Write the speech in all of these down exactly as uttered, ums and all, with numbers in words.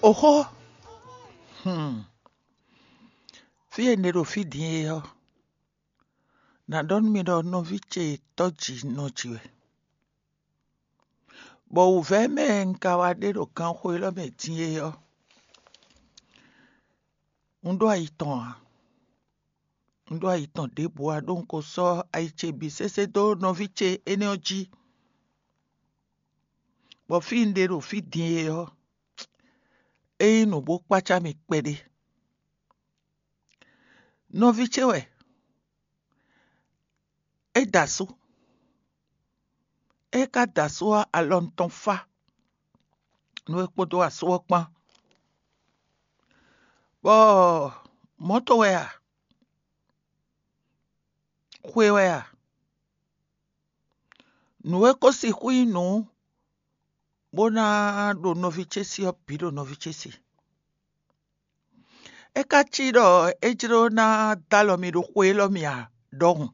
Oxó, hmm. Fí e un ɖe ɖo fí din é ɔ́, nǎ ɖɔ nú mi ɖɔ nɔví ce tɔ́ jǐ nɔ jǐ wɛ, bɔ wǔvɛ́ mɛ un ka wá ɖe ɖo ganxó élɔ́ mɛ din é ɔ́, un ɖó ayi tɔn ǎ. Un ɖó ayi tɔn ɖěbǔ ǎ, ɖó un ko sɔ́ ayi ce bǐ sésé dó nɔví ce énɛ́ ɔ́ jí, bɔ fí un ɖe ɖo fí din é ɔ́, é nyí nǔ bó kpácá mì kpɛɖé. Nɔví ce wɛ, é da asú. É ka da asú ɔ́, alɔ tɔn fá nú é kpódó asú ɔ́ kpán. Bɔ mɔ̌to wɛ a? Xwe wɛ a? Nǔ e ko sixú nyí nǔ bó ná ɖo nɔví ce sí ɔ́ bǐ ɖo nɔví ce sí. É ka cí ɖɔ é jló ná dó alɔ mi ɖo xwe élɔ́ mɛ a ɖɔhun?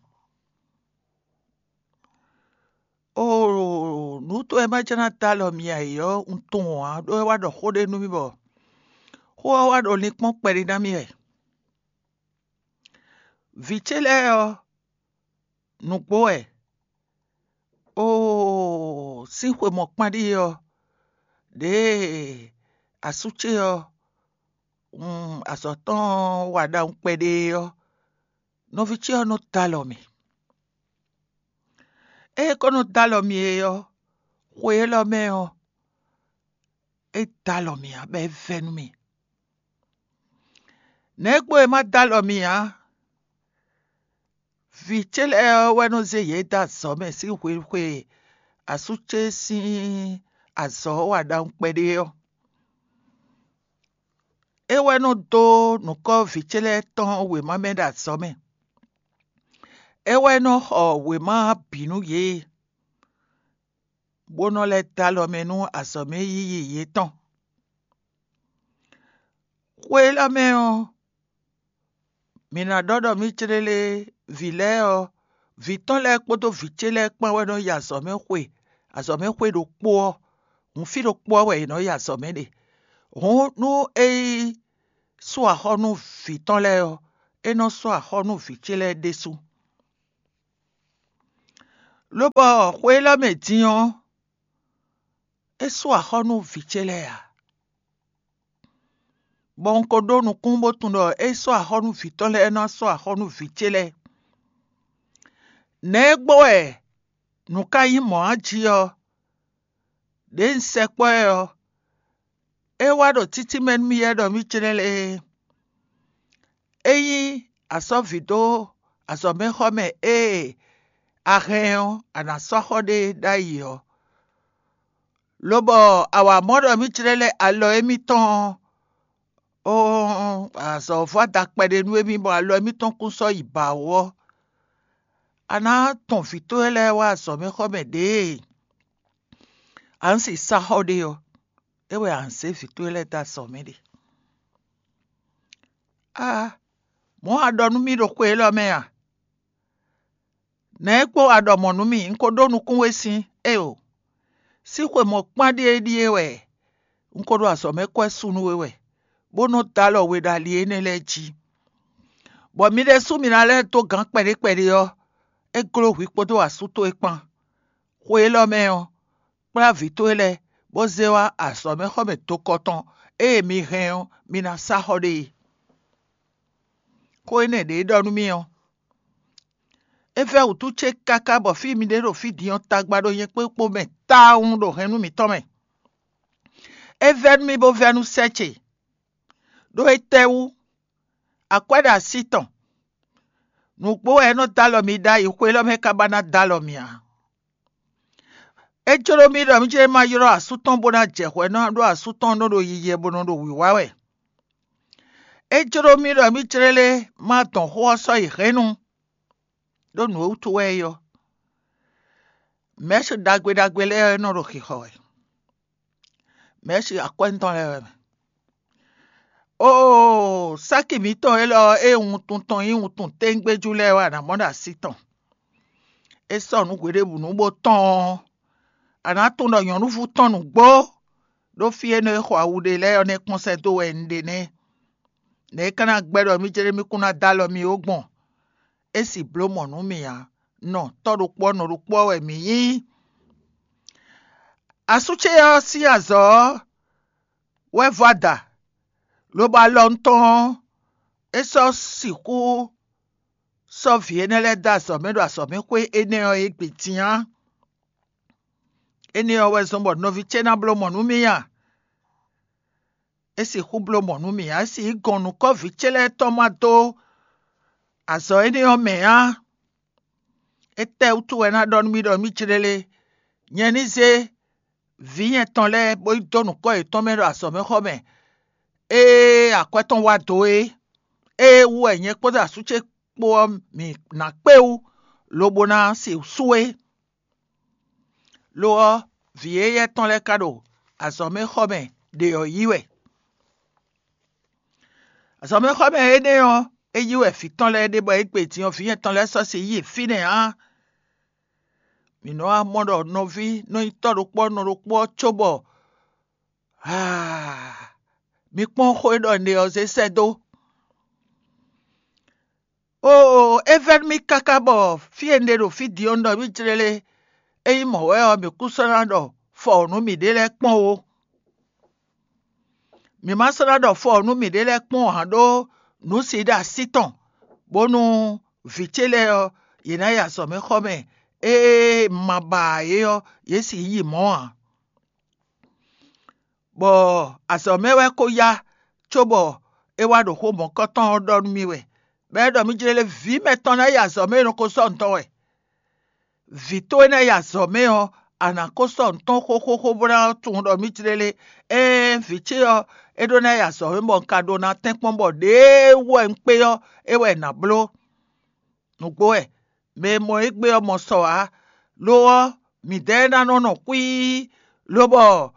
Oo, nǔ towe ma jló ná dó alɔ mi ǎ é ɔ́, un tunwun ǎ, ɖó é wá ɖɔ xó ɖé nú mì bɔ xó ɔ́ wá ɖo linkpɔ́n kpɛɖé ná mì wɛ. Vǐ ce lɛ́ɛ ɔ́, nǔgbó wɛ. Oo, sín xwe mɔ̌kpán ɖíe ɔ́, ɖěe asú ce ɔ́, azɔ̌ tɔn wa ɖawun kpɛɖé ɔ́, nɔví ce ɔ́ nɔ dó alɔ mì. Ée é ko nɔ dó alɔ mì é ɔ́, xwe élɔ́ mɛ ɔ́, é dó alɔ mì ǎ, bɔ é vɛ́ nú mì. Nɛ̌ gbo e ma dó alɔ mì ǎ? Vǐ ce lɛ́ɛ ɔ́ wɛ nɔ zé yě dó azɔ̌ mɛ sín hwenu e asú ce sín azɔ̌ ɔ́ wa ɖawun kpɛɖé ɔ́. É wɛ nɔ dó nǔkɔ́ vǐ ce lɛ́ɛ tɔn wěma mɛ ɖo azɔ̌ mɛ. É wɛ nɔ xɔ wěma bǐ nú yě, bó nɔ lɛ́ dó alɔ mɛ nú azɔ̌ mɛ yiyi yětɔn. Xwe élɔ́ mɛ ɔ́, mǐ ná ɖɔ ɖɔ mǐ clélé vǐ lɛ́ɛ ɔ́, vǐ tɔn lɛ́ɛ kpódó vǐ ce lɛ́ɛ kpán wɛ nɔ yi azɔ̌ mɛ xwe, azɔ̌ mɛ xwe ɖokpó ɔ́, hǔn fí ɖokpó ɔ́ wɛ yě nɔ yi azɔ̌ mɛ ɖe. Hǔn nú é yi sú axɔ́ nú vǐ tɔn lɛ́ɛ ɔ́, é nɔ sú axɔ́ nú vǐ ce lɛ́ɛ ɖésú. Lobɔ xwe élɔ́ mɛ din ɔ́, é sú axɔ́ nú vǐ ce lɛ́ɛ ǎ. Bɔ un ko ɖó nukún bó tunwun ɖɔ é sɔ́ axɔ́ nú vǐ tɔn lɛ́ɛ ná sɔ́ axɔ́ nú vǐ ce lɛ́ɛ. Nɛ̌ gbo wɛ nǔ ka nyí mɔ̌ a jí ɔ́, ɖěe un sɛkpɔ́ ɛ ɔ́, é wá ɖo títí mɛ nú mì yɛ ɖɔ mǐ jlɛ́n lé é. Ényí a sɔ́ vǐ dó azɔ̌mɛxɔmɛ ée a hɛn ɔ́, a nǎ sɔ́ xɔ ɖé ɖ'ayǐ ɔ́, lobɔ a wa mɔ ɖɔ mǐ jlɛ́n lɛ́ alɔ émítɔn ɔ́, ó azɔ̌ vɔ́ da kpɛɖé nú émí, bɔ alɔ émítɔn kún sɔ́ yi bǎ wú ɔ́, a nǎ tɔn vǐ towe lɛ́ɛ wá azɔ̌mɛxɔmɛ ɖěe a nǎ si sá xɔ ɖe ɔ́, é wɛ a nǎ zé vǐ towe lɛ́ɛ dó azɔ̌ mɛ ɖe. Aa, mɔ̌ a ɖɔ nú mì ɖo xwe élɔ́ mɛ a? Nɛ̌ kpó a ɖɔ mɔ̌ nú mì? Un ko ɖó nukún we sín éeǒ. Sín xwe mɔ̌kpán ɖíe ɖíe wɛ un ko ɖo azɔ̌ mɛ kɔ́ ɛ sú nú we wɛ, bó nɔ́ dó alɔ we ɖo ali énɛ́ lɛ́ɛ jí. Bɔ mi ɖésú mi ná lɛ́ dó gǎn kpɛɖé kpɛɖé ɔ́, é gló hwi kpódó asú towe kpán. Xwe élɔ́ mɛ ɔ́, kplá vǐ towe lɛ́ɛ, bó zé wá azɔ̌mɛxɔmɛ dokɔ tɔn ée mi hɛn ɔ́, mi ná sá xɔ ɖe é. Xó énɛ́ ɖě é ɖɔ nú mì ɔ́, é vɛ́ wǔtu ce káká bɔ fí mi ɖe ɖo fí din ɔ́ tagba ɖo nyɛ kpé kpo mɛ tawun ɖo hɛn nú mǐtɔn mɛ. É vɛ́ nú mì bó vɛ́ nú sɛ́ ce, ɖó étɛ́wú? Akwɛ́ ɖo así tɔn. Nǔgbó wɛ é nɔ dó alɔ mi ɖ'ayǐ, xwe élɔ́ mɛ ka ba ná dó alɔ mi ǎ. É jló mì ɖɔ mì jlɛ́ ma ylɔ́ asú tɔn bó ná jɛ hwɛ ná ɖó asú tɔn nɔ ɖo yiyi wɛ bó nɔ ɖo wǐwá wɛ. É jló mì ɖɔ mì jlɛ́ lé ma dɔn xó ɔ́ sɔ́ yi hɛ̌nnu, ɖó nǔ e wútu wɛ é ɔ́, mɛ̌si ɖagbe ɖagbe lɛ́ɛ nɔ ɖo xixɔ wɛ. Mɛ̌si akwɛ́ tɔn lɛ́ɛ wɛ mɛ. Oo, sáki mǐtɔn élɔ́ ɔ́, ée wuntun tɔn nyí wuntun téŋgbéjú lɛ́ɛ wɛ a nǎ mɔ ɖo así tɔn. É sɔ́ nǔ hweɖěbǔnu bó tɔ́n ɔ́, a nǎ tunwun ɖɔ nyɔ̌nuví tɔn nǔgbó ɖó fí e nɔ e xɔ awu ɖe lɛ́ɛ ɔ́ nɛ́ kpɔ́n sɛ́ dó wɛ un ɖe nɛ́. Nɛ̌ é ka ná gbɛ́ ɖɔ mì céɖé mì kún ná dó alɔ mì ó gbɔn? É sì bló mɔ̌ nú mì ǎ. Nɔ tɔ́ ɖokpó ɔ́, nɔ ɖokpó ɔ́ wɛ mǐ nyí. Asú ce ɔ́ sín azɔ̌ ɔ́ wɛ vɔ ada, lobo alɔ tɔn ɔ́, é sɔ́ sixú sɔ́ vǐ énɛ́ lɛ́ɛ dó azɔ̌ mɛ ɖo azɔ̌mɛxwé énɛ́ ɔ́ égbé din á. Énɛ́ ɔ́ wɛ zɔ́n bɔ nɔví ce ná bló mɔ̌ nú mì a? É sixú bló mɔ̌ nú mì ǎ, é sixú gɔn nǔkɔ́ vǐ ce lɛ́ɛ tɔn ma dó azɔ̌ énɛ́ ɔ́ mɛ á. Étɛ́wútu wɛ é ná ɖɔ nú mì ɖɔ mì jlélé? Nyɛ ní zé vǐ nyɛ tɔn lɛ́ɛ bó yi dó nǔkɔ́ yětɔn mɛ ɖo azɔ̌mɛxɔmɛ, ée akwɛ́ tɔn wá dó é, ée wú wɛ nyɛ kpódó asú ce kpó ɔ́ mǐ ná kpé wú, lobo ná sixú sú é. Lo ɔ́, vǐ éyɛ́ tɔn lɛ́ɛ ka ɖo azɔ̌mɛxɔmɛ ɖě ɔ́ yí wɛ. Azɔ̌mɛxɔmɛ énɛ́ ɔ́, é yí wɛ vǐ tɔn lɛ́ɛ ɖe bɔ égbé din ɔ́, vǐ nyɛ tɔn lɛ́ɛ sɔ́ si yi fínɛ́ ǎ. Mǐ nɔ wá mɔ ɖɔ nɔví nɔ nyí tɔ́ ɖokpó ɔ́ nɔ ɖokpó ɔ́ cóbɔ mi kpɔ́n xó e ɖɔ un ɖe ɔ́ zé sɛ́ dó. Oo, é vɛ́ nú mì káká bɔ fí e un ɖe ɖo fí din ɔ́, un ɖɔ mì jlélé. Ényí mɔ̌ wɛ ɔ́, mǐ kún sɔ́ ná ɖɔ fɔ nǔ mǐɖée lɛ́ɛ kpɔ́n ó. Mǐ ma sɔ́ ná ɖɔ fɔ nú mǐɖée lɛ́ɛ kpɔ́n ǎ ɖó nǔ si ɖo así tɔn, bónú vǐ ce lɛ́ɛ ɔ́, yě ná yi azɔ̌mɛxɔmɛ, ée un ma ba ǎ é ɔ́, yě sixú yi mɔ̌ ǎ. Bɔ azɔ̌ mɛ wɛ ko yá, cóbɔ é wá ɖo xó mɔ̌kɔtɔn ɔ́ ɖɔ nú mì wɛ, bɔ é ɖɔ mì jlélé vǐ mɛtɔn ná yi azɔ̌ mɛ e nɔ ko sɔ́ nǔ tɔn wɛ. Vǐ towe ná yi azɔ̌ mɛ ɔ́, a nǎ ko sɔ́ nǔ tɔn xóxóxó bó ná tunwun ɖɔ mì jlélé. Ɛɛn, vǐ ce ɔ́, é ɖó ná yi azɔ̌ mɛ bɔ un ka ɖó ná tɛ́nkpɔ́n bɔ ɖěe wú wɛ un kpé ɔ́, é wɛ è nǎ bló. Nǔgbó wɛ, mɛ e mɔ égbé ɔ́ mɔ sɔ ǎ. Lo ɔ́, mǐdɛɛ ná nɔ nɔ xwíí, lobɔ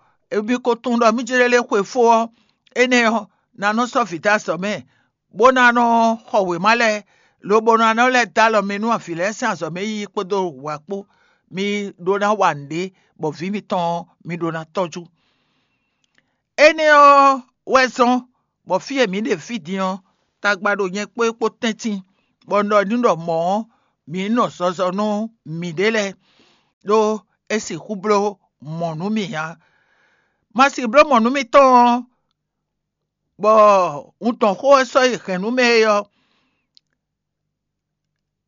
mi ko tunwun ɖɔ mì jlélé xwe fó ɔ́, énɛ́ ɔ́, ná nɔ sɔ́ vǐ dó azɔ̌ mɛ, bó ná nɔ xɔ wěma lɛ́ɛ, lobo ná nɔ lɛ́ dó alɔ mɛ nú avǐ lɛ́ɛ sín azɔ̌ mɛ yiyi kpódó wǎ kpó. Mi ɖó ná wa nǔɖé, bɔ vǐ mitɔn ɔ́, mi ɖó ná tɔ́jú. Énɛ́ ɔ́ wɛ zɔ́n bɔ fí e mǐ ɖe fí din ɔ́, tagba ɖo nyɛ kpó é kpó tɛ́ntin, bɔ un ɖɔ n'i ɖɔ mɔ̌ ɔ́, mǐ nɔ zɔzɔ nú mǐɖée lɛ́ɛ, ɖó é sixú bló mɔ̌ nú mì ǎ. Ma sixú bló mɔ̌ nú mitɔn ɔ́, bɔ un dɔn xó e sɔ́ yi hɛ̌n nú mɛ é ɔ́,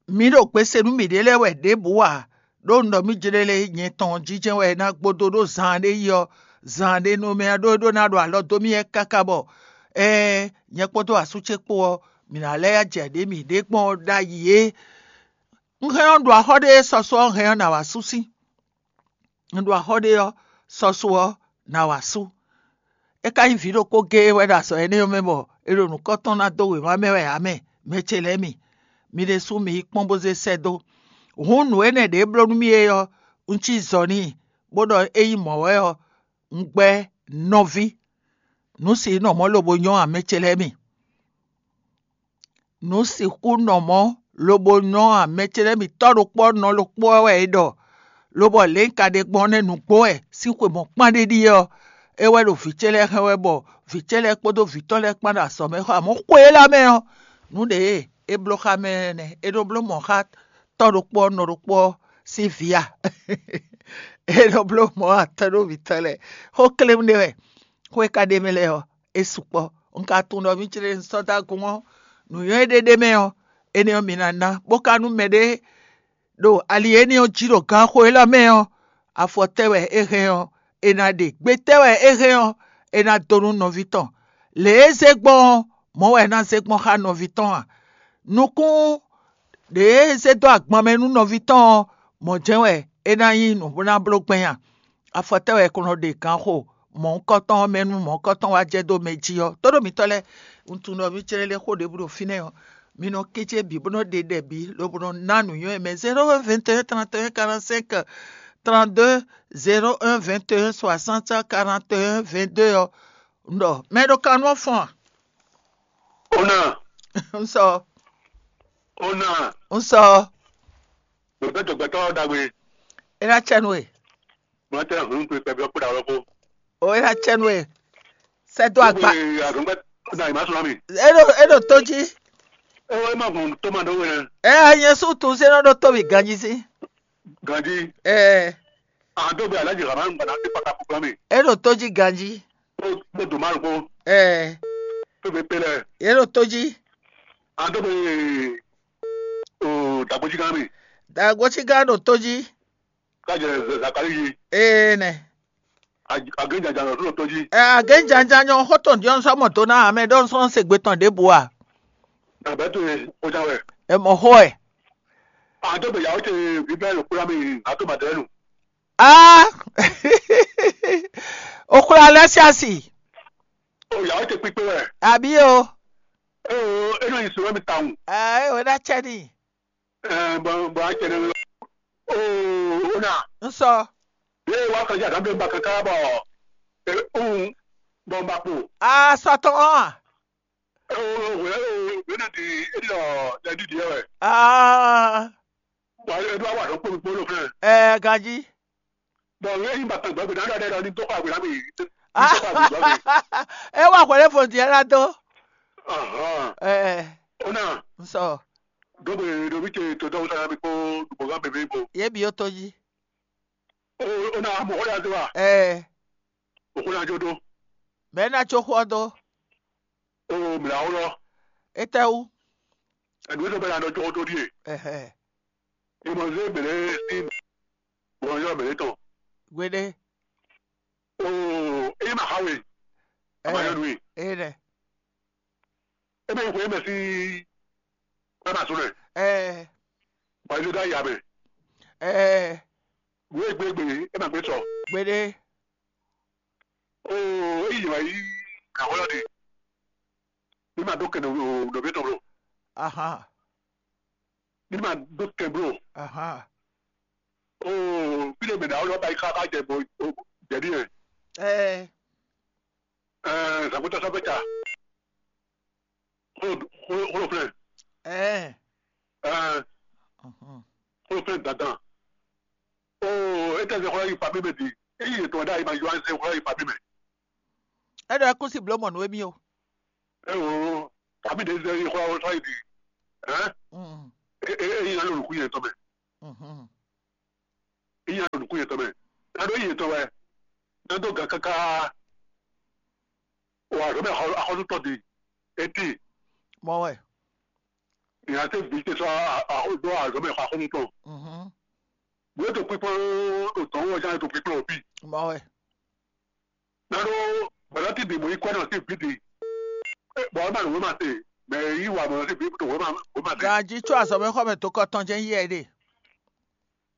mǐ ɖo gbe se nú mǐɖée lɛ́ɛ wɛ ɖěbǔ ǎ, ɖó un ɖɔ mì jlélé nyɛ tɔn jínjɛ́n wɛ é ná gbódó ɖó zaan ɖé yi ɔ́, zaan ɖé nú mɛ ɔ́ ɖó é ɖó ná ɖo alɔ dó mì wɛ káká bɔ ɛɛn, nyɛ kpódó asú ce kpó ɔ́, mǐ ná lɛ́ jɛ ɖě mǐɖée gbɔn ɔ́ ɖ'ayǐ é. Un hɛn ɔ́, un ɖo axɔ́ ɖé e sɔsɔ ɔ́ hɛn ɔ́, nǎ wá sú sín. Un ɖo axɔ́ ɖé ɔ́, sɔ́só ɔ́, nǎ wá sú. É ka nyí vǐ ɖokpó géé wɛ ɖo azɔ̌ énɛ́ ɔ́ mɛ bɔ è ɖo nǔkɔntɔn ná dó wěma mɛ wɛ ǎ mɛ, mɛ ce lɛ́ɛ mi. Mi ɖésú mi yi kpɔ́n bó zé sɛ́ dó. Hǔn nǔ énɛ́ ɖě bló nú mì é ɔ́, un cí zɔ n'i, bó ɖɔ ényí mɔ̌ wɛ ɔ́, un gbɛ́ nɔví. Nǔ si nɔ mɔ̌ lobo nyɔ́ ǎ, mɛ ce lɛ́ɛ mi. Nǔ sixú nɔ mɔ̌ lobo nyɔ́ ǎ, mɛ ce lɛ́ɛ mi tɔ́ ɖokpó ɔ́, nɔ ɖokpó ɔ́ wɛ è ɖɔ, lobɔ lě un ka ɖe gbɔn ɔ́ nɛ́ nǔgbó wɛ sín xwe mɔ̌kpán ɖé ɖíe ɔ́, é wɛ ɖo vǐ ce lɛ́ɛ hɛn wɛ bɔ vǐ ce lɛ́ɛ kpódó vǐ tɔn lɛ́ɛ kpán ɖo azɔ̌ mɛ xɔ, amɔ̌ xwe élɔ́ mɛ ɔ́, nǔ ɖě e é bló xá mɛ nɛ́, é ɖó bló mɔ̌ xá tɔ́ ɖokpó ɔ́, nɔ ɖokpó ɔ́ sín vǐ a? É ɖó bló mɔ̌ atɔ́ ɖó vǐ tɔn lɛ́ɛ. Xó kléwún ɖé wɛ, xó e ka ɖ'é mɛ lɛ́ɛ ɔ́, é sukpɔ́. Un ka tunwun ɖɔ mì céɖé un sɔ́ dó agun ɔ́, nǔnywɛ́ e ɖe ɖ'é mɛ ɔ́, énɛ́ ɔ́ mi ná ná, bó ka nú mɛɖé ɖo ali énɛ́ ɔ́ jí ɖo ganxo élɔ́ mɛ ɔ́, afɔ tɛ́ wɛ é hɛn ɔ́, è nǎ ɖe; gbe tɛ́ wɛ é hɛn ɔ́, è nǎ dó nú nɔví tɔn. Lě e é zé gbɔn ɔ́, mɔ̌ wɛ é ná zé gbɔn xá nɔví tɔn a? Nukún ɖě e é zé dó agban mɛ nú nɔví tɔn ɔ́, mɔ̌ jɛ́n wɛ é ná nyí nǔ bó ná bló gbɛn a? Afɔ tɛ́ wɛ è ko nɔ ɖe ganxo mɔ̌hunkɔtɔn ɔ́ mɛ nú mɔ̌hunkɔtɔn wá jɛ dó mɛ jí ɔ́? Tóɖó mitɔ́ lɛ́ɛ, un tunwun ɖɔ mì céɖé xó ɖěbǔ ɖo fínɛ́ ɔ́, mi nɔ kéjé bǐ bó nɔ ɖe ɖɛ bǐ, lobo nɔ ná nǔnywɛ́ mɛ. Zéro un vingt et un trente et un quarante-cinq trente-deux, zéro un vingt et un soixante quarante et un vingt-deux ɔ́, un ɖɔ mɛ ɖo kan nú ɔ́ fɔ́n a? Ona, Un sɔ, ona, un sɔ. Gbɛgbɛ dɔgbɛtɔ ɖagbe. É ná cɛ nú we. Mɔtɛ hun kpe kpɛbi ɔkpɔ ɖawɔ ko. O é ná cɛ nú we. Sɛ́ dó agba. Azɔ̌gbɛ́ na yi má sɔ́ ná mi. É ɖo é ɖo tó jí. É wá má gbɔn tó ma ɖó we nɛ. Ɛ nyɛ sú tun sɛ́ nɔ ɖó tó mì ganjí sí. Ganjí. Ɛ An dó gbe alájì hama ń gbàdá sí pàtàkì gbọ́n mi. É ɖo tó jí ganjí. Ó dò má lóko. Ɛ Tó bẹ pé lɛ. É ɖo tó jí. An dó gbe o dàgbéjì gán mi. Dàgbéjì gán ɖo tó jí. Kájẹ Zakari yi. Ee nɛ. Agéjàjà lọ tó tó jí. Ɛ agéjàjà nyɔ xó tɔn diɔ sɔ mɔ tó ná amɛ ɖɔ sɔ se gbe tɔn ɖěbǔ a. Nàbẹ́ tó yẹ kó já wẹ̀. Ɛ mɔ xó ɛ. An dó gbe yàwó tẹ bíbẹ́ lò kúrá mi àtó màdẹ́nu. Ah. Okura lɛ si asi. O yàwó tẹ kpíkpé wẹ̀. Àbí o. Ee o, é nɔ yi sùn mi tawun. Ɛ o ná cɛ ni. Ɛ bɔn bɔn a cɛ ni. O o na. N sɔ. Bí wàá kọjá àdámọ́ bá kankan bọ̀. Ɛ ń bɔn bá kpo. A sɔ tɔn ɔn. Ɛ o o wẹ́ o wẹ́ náà di é di ɔ lẹ́dí di ẹ wẹ̀. Ah. Wà á ɖó àwọn àdó kpómi kpó ló fẹ́. Ɛ ganjí. Bɔn wẹ́ yín bàtà gbàgbé náà lọ́dẹ lọ ní tó kọ́ àgbè lámì yìí. Ní tó kọ́ àgbè gbàgbé. É wà hwɛ̌ lé fò diɛ ná dó. Ahàn. Ɛ Ó náà, n sɔ. Dógbe ɖo mí ce tó dɔwọ́ sára mi kpó dùgbò gán bèbè bò. Yé bi ó tó jí. Ó ó náà mọ̀ ó yà dé wa. Ɛ Òkú náà jó dó. Mɛ ná tso xó ɔ́ dó. Ó mìlá ó lɔ. Étɛ́wú? Ẹ̀dùn tó bẹ̀rẹ̀ àná jó dó díè. Ɛhɛ. Ìmọ̀ zé bèrè sí bọ̀nyọ́ bèrè tán. Gbeɖé. Ó é má xa we. Ɛ Àmọ́ yẹn nù yìí. É nɛ. É má yí xwe é mɛ sí. Ɛ má sún rẹ̀. Ɛ Bɔ̀nyọ́ dá yà mẹ́. Ɛ Wé gbégbé é má gbé sọ. Gbeɖé. Oo, eyi wɛ yi ahɔlɔ de. Ní ma dó kɛnɛ o nɔvi tɔn blo. Aha. Ní ma dó kɛn blo. Aha. Oo, bí de mɛ dá wọlé ɔba yi ká ká jɛ bɔ jɛbi yɛ. Ɛɛ. Ɛɛ, zàkútà sɔfɛ ta. Xolo xolo xolo flɛ. Ɛɛ. Ɛɛ. Mhm. Xolo flɛ dandan. Oo, e tɛ se xɔlɔ yi fa mi mɛ di. E yi yetɔ dá yi ma yɔ an se xɔlɔ yi fa mi mɛ. Eɖɔ ɛkúnsi bló mɔ nú émí o. Ewo, kàmí ɖe zɛ yi xɔlɔ sɔ yi di. Hɛn? Mm. E e e yi na lɔ nukun yɛn tɔ mɛ. Mhm. E yi na lɔ nukun yɛn tɔ mɛ. Na ɖo yi yetɔ wɛ. Na dó gan káká. Wa zɔ mɛ xɔ axɔsútɔ di. Eti. Mɔ wɛ. Ìyá tẹ bí tẹ sọ àdó àzọ mẹ xɔ akɔnú tɔn. Mhm. Wọ́n tó pípọ́n òtún wọ́n jáde tó pípọ́n òbí. Mɔ wɛ. Nánú bọ̀dá ti dìbò yìí kọ́ náà sí ìbí di. Bọ̀ ọ́ máa lò wọ́n máa tè. Mẹ yìí wà mọ̀ sí ìbí tó wọ́n máa wọ́n máa tè. Gají tsɔ azɔmɛxɔmɛ tó kɔ tɔn jẹ́ yíyɛ ɖe.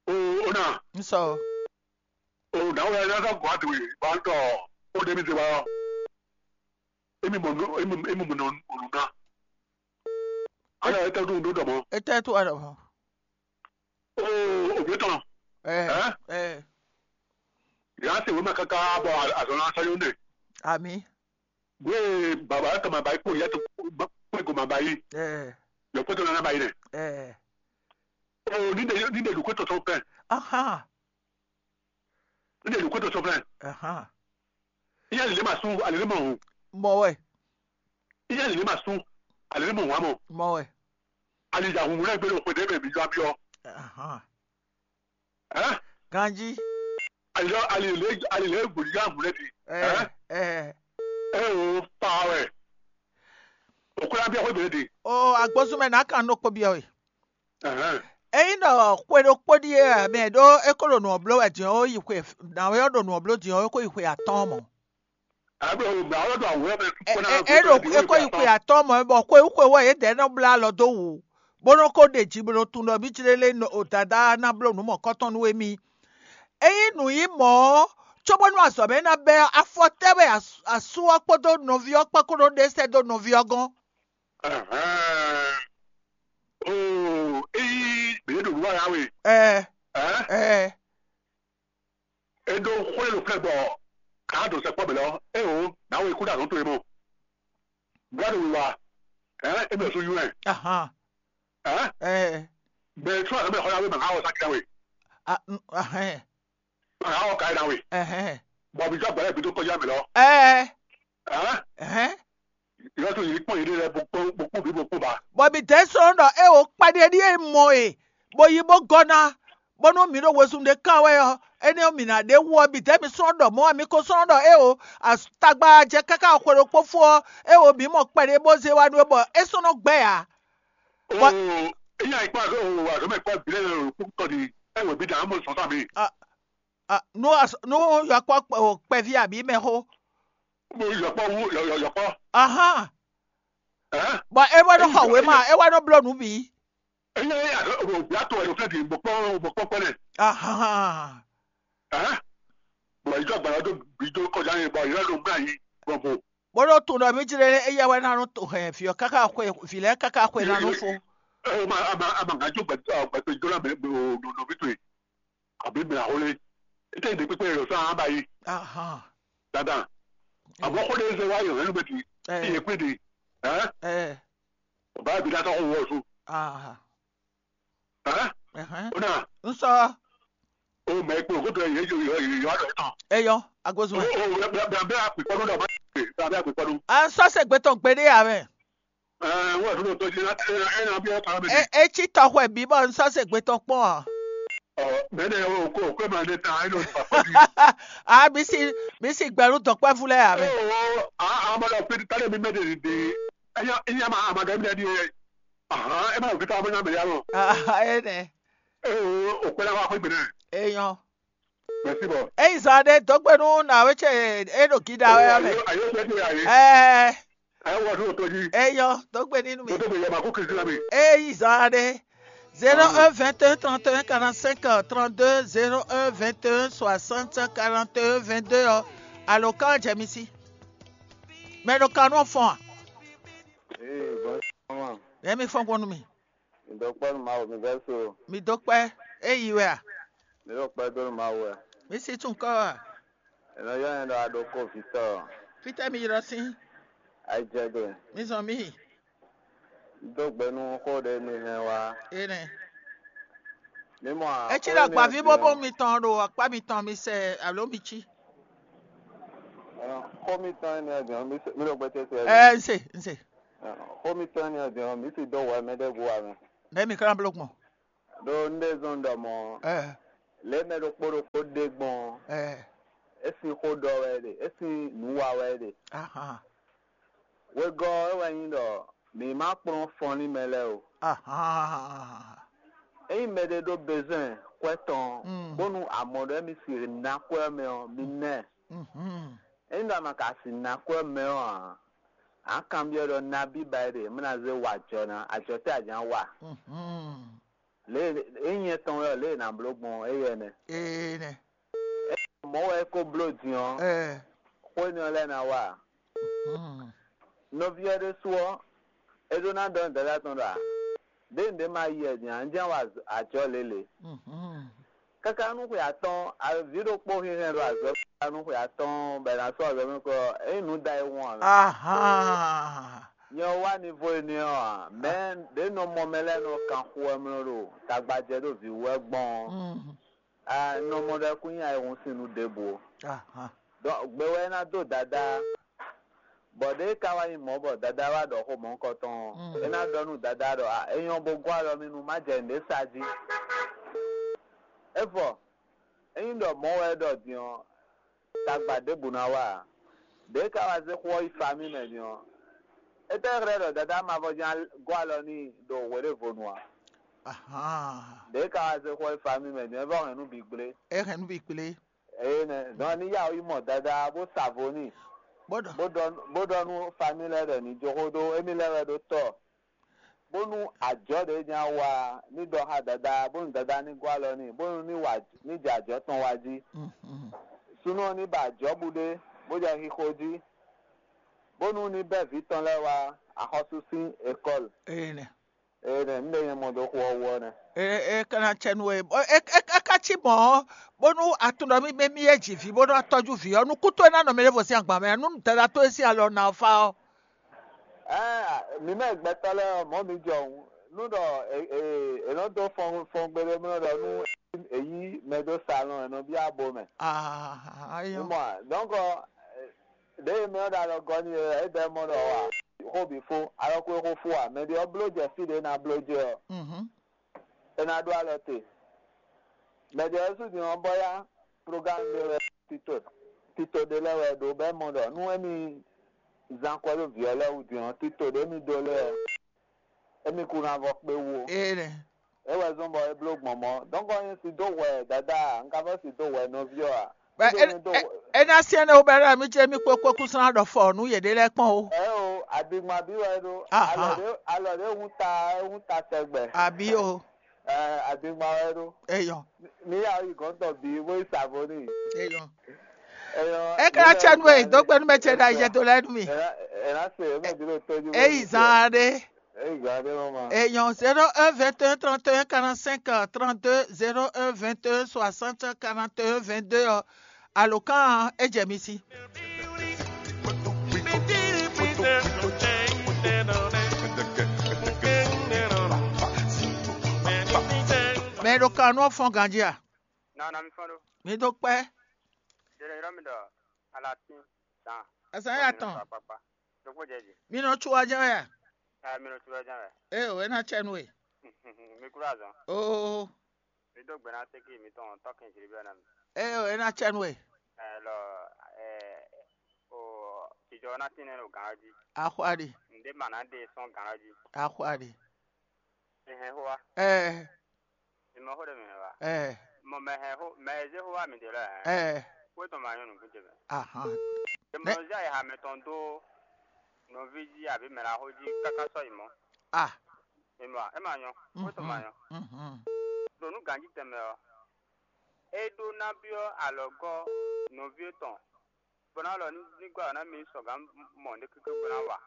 O o na. N sɔ. O na wọ́n yẹn lọ́sọ̀ gùn àti wì bá ń tọ̀. Ó débi ti wá. Emi mɔ nú emi emi mɔ nú nù ná. Ala ete ɖo ŋɖo ɖɔ mɔ. Ete to aɖɔ mɔ. Oo, òbí tɔn. Ɛ Ɛ? Ɛ Yà á sì wéma káká bɔ àzɔn náà sɔyún nɛ. Ami. Gbé bàbá tɔn ma ba yí kó ìyá tó kó ìgò ma ba yí. Ɛ Yọ kó tó nana ba yí nɛ. Ɛ Oo, nídìí nídìí lùkú tó sɔn fẹ́. Aha. Nídìí lùkú tó sɔn fẹ́. Aha. Ìyá lè má sún, àlè lè má hùn. Mɔ wɛ. Ìyá lè má sún, àlè lè má hùn àmọ́. Mɔ wɛ. Àlè ìjà hùn rẹ̀ gbé lóko dé bẹ̀bí yọ abíọ́. Aha. Ẹ́ Ganji. Àlè àlè lè àlè lè gbòdì yá hùn rẹ̀ di. Ɛ Ɛ Ɛ Ɛ o pa wɛ. Òkú yá bí ọkọ ìbèrè di. O agbósúnmɛ náà kàn ní okpó biɔ we. Ẹ̀hẹ́n. Eyin ɖɔ xwe ɖokpó ɖíe mɛ ɖó é ko ɖo nǔ ɔ́ bló wɛ din ɔ́, é yi xwe nǎwe ɔ́ ɖo nǔ ɔ́ bló din ɔ́, é ko yi xwe atɔ́ɔ́n mɔ. Àbí o gbà ɔ́ ɖo àwòrán mɛ kpókpó náà. É ɖo é ko yi xwe atɔ́ɔ́n mɔ, bɔ xwe xwe wɛ yědɛɛ nɔ blá alɔ dó wǔ, bó nɔ ko ɖe ji bó nɔ tunwun ɖɔ mí jlé lé o Dadá ná bló nǔ mɔ̌kɔtɔn nú émí. Ényí nǔ nyí mɔ̌ ɔ́, cóbónú azɔ̌ mɛ ná bɛ́ ɔ́, afɔ tɛ́ wɛ asú ɔ́ kpódó nɔví ɔ́ kpán ko nɔ ɖe sɛ́ dó nɔví ɔ́ gɔ́n? Ɛhɛn. Oo, eyi běɖo nǔ wa yá we. Ɛ Ɛ ɛ É ɖó xwé ɖo flɛ́ gbɔ ká ɖo sɛkpɔ́ mɛ lɔ. É o, nǎwe kú ɖo azɔ̌ towe mɔ. Gbá ɖo wiwa. Ɛ é mɛ sú yún ɛ. Ahan. Ɛ Ɛ Bɛ sú azɔ̌ mɛ xɔ yá we mɛ ká wɔ sákì yá we. A n- Ahɛn. Mɛ ká wɔ ká yá we. Ɛhɛn. Bɔ mi zɔ́ gbɛ̌ lɛ́ɛ bǐ dó kɔjá mɛ lɔ. Ɛɛ. Ɛhɛn. Ɛhɛn. Yɔ tó yě kpɔ́n yě ɖe lɛ́ɛ bó kpɔ́n bó kpɔ́n bǐ bó kpɔ́n ba. Bɔ mi dɛ̌ sɔ́ ɖɔ é wǒ kpaɖé ɖíe mɔ e, bó yi bó gɔ́ ná, bónú mǐ ɖo wezun ɖé kán wɛ ɔ́, énɛ́ ɔ́, mǐ ná ɖe wú ɔ́, mi dɛ̌ mi sɔ́ ɖɔ mɔ̌ ǎ, mi ko sɔ́ ɖɔ é wǒ, tagba jɛ káká xwe ɖokpó fó ɔ́, é wǒ mǐ mɔ kpɛɖé bó zé wá nú é, bɔ é sɔ́ nɔ gbɛ́ ǎ. Bɔ- Oo, é nya yi kpá azɔ̌ o azɔ̌ mɛ kpá bǐ lɛ́ɛ o kúkú tɔ di. É wǒ bí dǎ mɔ sɔ́n sá mi. A- a- nú as- nú yɔkpɔ kpɛví abǐ mɛxó. Mo yɔkpɔ wú yɔkpɔ. Ahán. Ɛ. Bɔ é wá nɔ xɔ wěma, é wá nɔ bló nǔ bǐ. Eye eye azɔ̌ o bǐ ato ɛ ló fẹ́ di mo kpɔ́ mo kpɔ́ kpɛ́ nɛ. Ahán. Ɛ. Bɔ ìjọ gbàlá dó bǐ dó kọjá yẹn bɔ ìyá ló gbà yí bɔ mo. Bó ɖó tunɔ mí jlé éyɛ́ wɛ ná nɔ to hɛn vǐ ɔ́ káká xwe vǐ lɛ́ɛ káká xwe ná nɔ fó. Ɛ o ma ama ama ŋà jó gbàtó gbàtó ìjọ náà mɛ o nɔ nɔ mí to yìí. Àbí mìlá xó lé. Étɛ́ ɖě kpékpé yɔ sɔ́ ahán ba yí. Ahán. Dandan. Àmọ́ xó lé zɛ wá yọ̀ hɛn ló bɛ ti. Ɛ. Iye kpé de. Ɛ. Ɛ. Bàbá bi dá tɔ́ xó wọ́ su. Ahán. Ɛ. Ẹhɛn. Ó nà. N sɔ. O mɛ kpó kó tó yẹ yọ yọ yọ yọ àdó tán. Eyɔ, agozo. O o bẹ bẹ bẹ akpè kpɔdún dɔ bá bẹ bẹ akpè kpɔdún. À ń sọ ṣègbè tán gbédé àwẹ̀. Ɛ wọ́n àdúgbò tó jí ẹ ẹ náà bí ẹ kàn mí. Ẹ ẹ tí tọ̀hún ẹ̀ bí bọ́ ń sọ ṣègbè tán pọ̀. Ɔ mẹ́nẹ̀ o kó o kó ẹ máa ní ta ẹ lọ sí pàpọ̀ bí. A bí sí bí sí gbẹ̀rún dọ̀pẹ́ fúnlẹ̀ àwẹ̀. Ẹ o a a máa lọ pé tálẹ̀ mi mẹ́tẹ̀ẹ̀dì dé. Ẹ yá ẹ yá máa àmàgà mi lẹ́ni ẹ. Ahàn ẹ máa fi tá a máa yá mi yá lọ. Ẹ nẹ. Ẹ o o pẹ́ náà wá pé gbẹ̀rẹ̀. Eyɔn. Merci bɔ. Eyi zan ɖe dó gbe nú nǎwe ce e ɖo gida wɛ ɔ́ mɛ. Ayo ayo fẹ́ ti ayi. Ɛɛ Ẹ wọ sí òtó jí. Eyɔ dó gbe nínú mi. Tó tó bẹ yẹ ma kó Kristi la mi. Eyi zan ɖe zéro un vingt et un trente et un quarante-cinq trente-deux, zéro un vingt et un soixante quarante et un vingt-deux ɔ́, alo kan jɛ mi sí. Mɛ ɖo kan nɔ fɔn a? Ee, bɔn sɔmɔ. Yɛ mi fɔn gbɔn nú mi. Mi dó kpɔ́ nú Mawu, mi vɛ́ so. Mi dó kpɛ́, é yi wɛ a? Mi ɖo kpɛ́ dó nú Mawu wɛ. Mi sí tún kɔ a? È nɔ ylɔ́ nyɛ ɖɔ Aɖoko Victor. Fítɛ́ mi ylɔ́ sín? Ayijɛgbe. Mi zɔn mì. Mi dó gbe nú xó ɖé mi hɛn wá. Énɛ́. Mi mɔ a? É cí ɖɔ agbaví bóbó mitɔn ɖo akpá mitɔn mi sɛ alo mi cí? Xó mitɔn énɛ́ ɔ́ din ɔ́, mi se- mi ɖo gbɛtɛ́ se. Ɛ ń se ń se. Xó mitɔn énɛ́ ɔ́ din ɔ́, mi si dó wɛ mɛ ɖé gu wá mɛ. Nɛ̌ mi ka ná bló gbɔn? Ɖó un ɖe zɔ́n ɖɔ mɔ̌, Ɛ lě mɛ ɖokpó ɖokpó ɖe gbɔn ɔ́, ɛ é sín xó ɖɔ wɛ é ɖe, é sín nǔ wa wɛ é ɖe. Ahan. Wegɔ́ ɔ́, é wɛ nyí ɖɔ mǐ má kplɔ́n fɔnlín mɛ lɛ́ɛ o. Ahan. Ényí mɛɖé ɖó bezwɛn kwɛ́ tɔn, Mm. bónú a mɔ ɖɔ émí sixú ná kwɛ́ ɔ́ mɛ ɔ́, mi ná ɛ. Mhm. Ényí ɖɔ a ma ka sixú ná kwɛ́ ɔ́ mɛ ɔ́ ǎ, a nǎ kanbyɔ́ ɖɔ nabí ba é ɖe, mí ná zé wa ajɔ ná, ajɔ tɛ́ a jǎ wa? Mhm. Lě e nyɛ tɔn wɛ ɔ́, lě e è nǎ bló gbɔn ɔ́, éyɛ́ nɛ́. Ee nɛ. Mɔ̌ wɛ é ko bló din ɔ́, Ɛɛ. Xó énɛ́ ɔ́ lɛ́ɛ ná wa ǎ. Hmm. Nɔví ɔ́ ɖésú ɔ́, é ɖó ná ɖɔ nú dadá tɔn ɖɔ ǎ, ɖěe un ɖě ma yi wɛ din ǎ, un jɛ́n wa ajɔ lě lě. Mhm. Káká nú xwe atɔ́ɔ́n, vǐ ɖokpó hɛn hɛn ɖo azɔ̌ káká nú xwe atɔ́ɔ́n bɔ è nǎ sɔ́ azɔ̌ mɛ kɔ ɔ́, é nyí nǔ da e wɔn ǎ mɛ. Ahan. Nyɛ ɔ́ wá nivo énɛ́ ɔ́ ǎ, mɛ ɖě nɔ mɔ mɛ lɛ́ɛ nɔ kan xo wɛ mlɔ ɖo tagbajɛ ɖo vǐ wú wɛ gbɔn ɔ́, Mm. a nɔ mɔ ɖɔ kún nyi ayihún sín nú ɖěbǔ ó. Ahan. Donc gbe wɛ é ná dó dadá, bɔ ɖěe ka wá nyí mɔ̌ bɔ dadá wá ɖɔ xó mɔ̌hunkɔtɔn ɔ́, Mm. é ná ɖɔ nú dadá ɖɔ a é nyɔ́ bó gɔ́ alɔ mì nú má jɛ nǔɖé sa jí. É vɔ, ényí ɖɔ mɔ̌ wɛ é ɖɔ din ɔ́, tagba ɖěbǔ ná wa ǎ. Ɖěe ka wá zé xó ɔ́ yi famí mɛ din ɔ́, étɛ́ xlɛ́ ɖɔ dadá mavɔ ján gɔ́ alɔ n'i ɖo hweɖěvonu ǎ? Ahan. Ɖěe ka wá zé xó ɔ́ yi famí mɛ din ɔ́, é vɔ hɛn nú bǐ gblé. É hɛn nú bǐ gblé. Eye nɛ, dɔn ní yá yi mɔ dadá bó sa vo n'i, Bó ɖɔ. Bó ɖɔ bó ɖɔ nú famí lɛ́ɛ ɖɔ ní jó xó dó émí lɛ́ɛ wɛ ɖó tɔ, bónú ajɔ̌ ɖě ján wa ní ɖɔ xá dadá, bónú dadá ní gɔ́ alɔ n'i, bónú ní wa ní jɛ ajɔ̌ tɔn wa jí. Mhm. Súnnu ɔ́ ní ba ajɔ̌ bú ɖé, bó jɛ xixo jí, bónú ní bɛ́ vǐ tɔn lɛ́ɛ wá axɔ́sú sín ekɔ́lu. Eye nɛ. Eye nɛ, un ɖe nyɛ mɔ dó xó ɔ́ wú ɔ́ nɛ́. E e ka ná cɛ nú we. E e e ka cí mɔ̌ ɔ́, bónú a tunwun ɖɔ mí mí é ji vǐ bónú a tɔ́jú vǐ ɔ́, nukún towe ná nɔ mɛ ɖěvo sín agban mɛ, nú dada towe sín alɔ ná fa ɔ́. Ɛɛ, mǐ mɛ gbɛtɔ́ lɛ́ɛ ɔ́, mɔ̌ mi jɔ hǔn. Nú ɖɔ è è è nɔ dó fɔn fɔn gbeɖé mlɔ́ ɖɔ nú èyí mɛ dó salɔn ɛ nɔ bí abo mɛ. Ah, mɔ donc, ɖěe mɛ ɔ́ ɖo alɔ gɔ́ n'i é bɛ́ mɔ ɖɔ wá xó bǐ fó, alɔ kó é xó fó ǎ. Mɛ ɖé ɔ́ bló jɛ fí ɖě ná bló jɛ ɔ́, é ná ɖó alɔ te. Mɛ ɖé ɔ́ sú din ɔ́ bɔ yá, programme ɖé wɛ tito tito ɖé lɛ́ wɛ ɖó bɛ́ mɔ ɖɔ nú émí zán kwɛ́ ɖó vǐ ɔ́ lɛ́ɛ wú din ɔ́, tito ɖé mì ɖó lɛ́ɛ ɔ́, émí kú ná vɔ kpé wú ó. Énɛ́. É wɛ zɔ́n bɔ é bló gbɔn mɔ̌. Dɔ̌nkɔ nyɛ si dó hwɛ dadá a? Un ka vɔ́ si dó hwɛ nɔví ɔ́ a? Bɛ Kúdó é nyɛ dó é hwɛ. É ná syɛ́n nɛ́ wú bɛ́ ɖɔ mì ce mì kpó kpó kúsán ɖɔ fɔ nǔ yěɖée lɛ́ɛ kpɔ́n ó. Ɛ o, adigbma bí wɛ ɖó. Aha. Alɔ ɖé alɔ ɖé hun ta hun ta tɛgbɛ. Àbí o. Ɛ, adigbma wɛ ɖó. Eyɔn. Ní yà yi gɔ̌n tɔn bǐ bó yi sa vo n'i. Eyɔn. Eyɔn. É ká cɛ nú e dó gbɛnú mɛ ce ɖo ayijɛ dó lɛ́ɛ nú mi. Ɛ ná se é mɛ bí ɖo tójú. É yi zan ɖé. Eyɔn zéro un vingt et un trente et un quarante-cinq trente-deux, zéro un vingt et un soixante quarante et un vingt-deux ɔ́, alǒkan ɔ́, é jɛ mi sí. Mɛ e ɖo kan nú ɔ́ fɔ́n ganjí a? Nana mi fɔ́n ɖó. Mi dó kpɛ́. Jɛɖɛ yrɔ́ mi ɖɔ alatín zan. Azǎn ya tɔn. Akpakpa. Ɖokpó jɛ jí. Mi nɔ tsu wá jɛ́n wɛ a? Ɛ mi nɔ tsu wá jɛ́n wɛ. Ée o, é ná cɛ nú we. Mi kúrò azɔn. Oo. Mi dó gbe ná sékí mi tɔn tɔ́kɛn jǐ bɛ ná mi. Ée o, é ná cɛ nú we. Ɛ lɔ ɛ o jijɔ ná tín nɛ ɖo gǎn ɔ́ jí. Axwali. Ǹdé mà ná ɖe sɔ́n gǎn ɔ́ jí. Axwali. Mi hɛn xó wá. Ɛɛ. Mi mɔ xó ɖé mi hɛn wá. Ɛɛ. Mɔ mɛ hɛn xó mɛ e zé xó wá mi ɖe lɔ hɛn. Ɛɛ. Xó tɔn ma nyɔ́ nǔgbín ce mɛ. Ahan. Demɔlɔzi ayiha mɛtɔn dó nɔví jí abǐ mɛ la xó jí káká sɔ́ yi mɔ̌. Ah. Mi mɔ é ma nyɔ́. Xó tɔn ma nyɔ́. Mhm. Ɖo nú ganjí tɛnmɛ ɔ́, é ɖó ná byɔ́ alɔgɔ́ nɔví tɔn bó ná lɔ ní gɔ́ ná mi sɔgǎn mɔ ɖé kéké bó ná wa.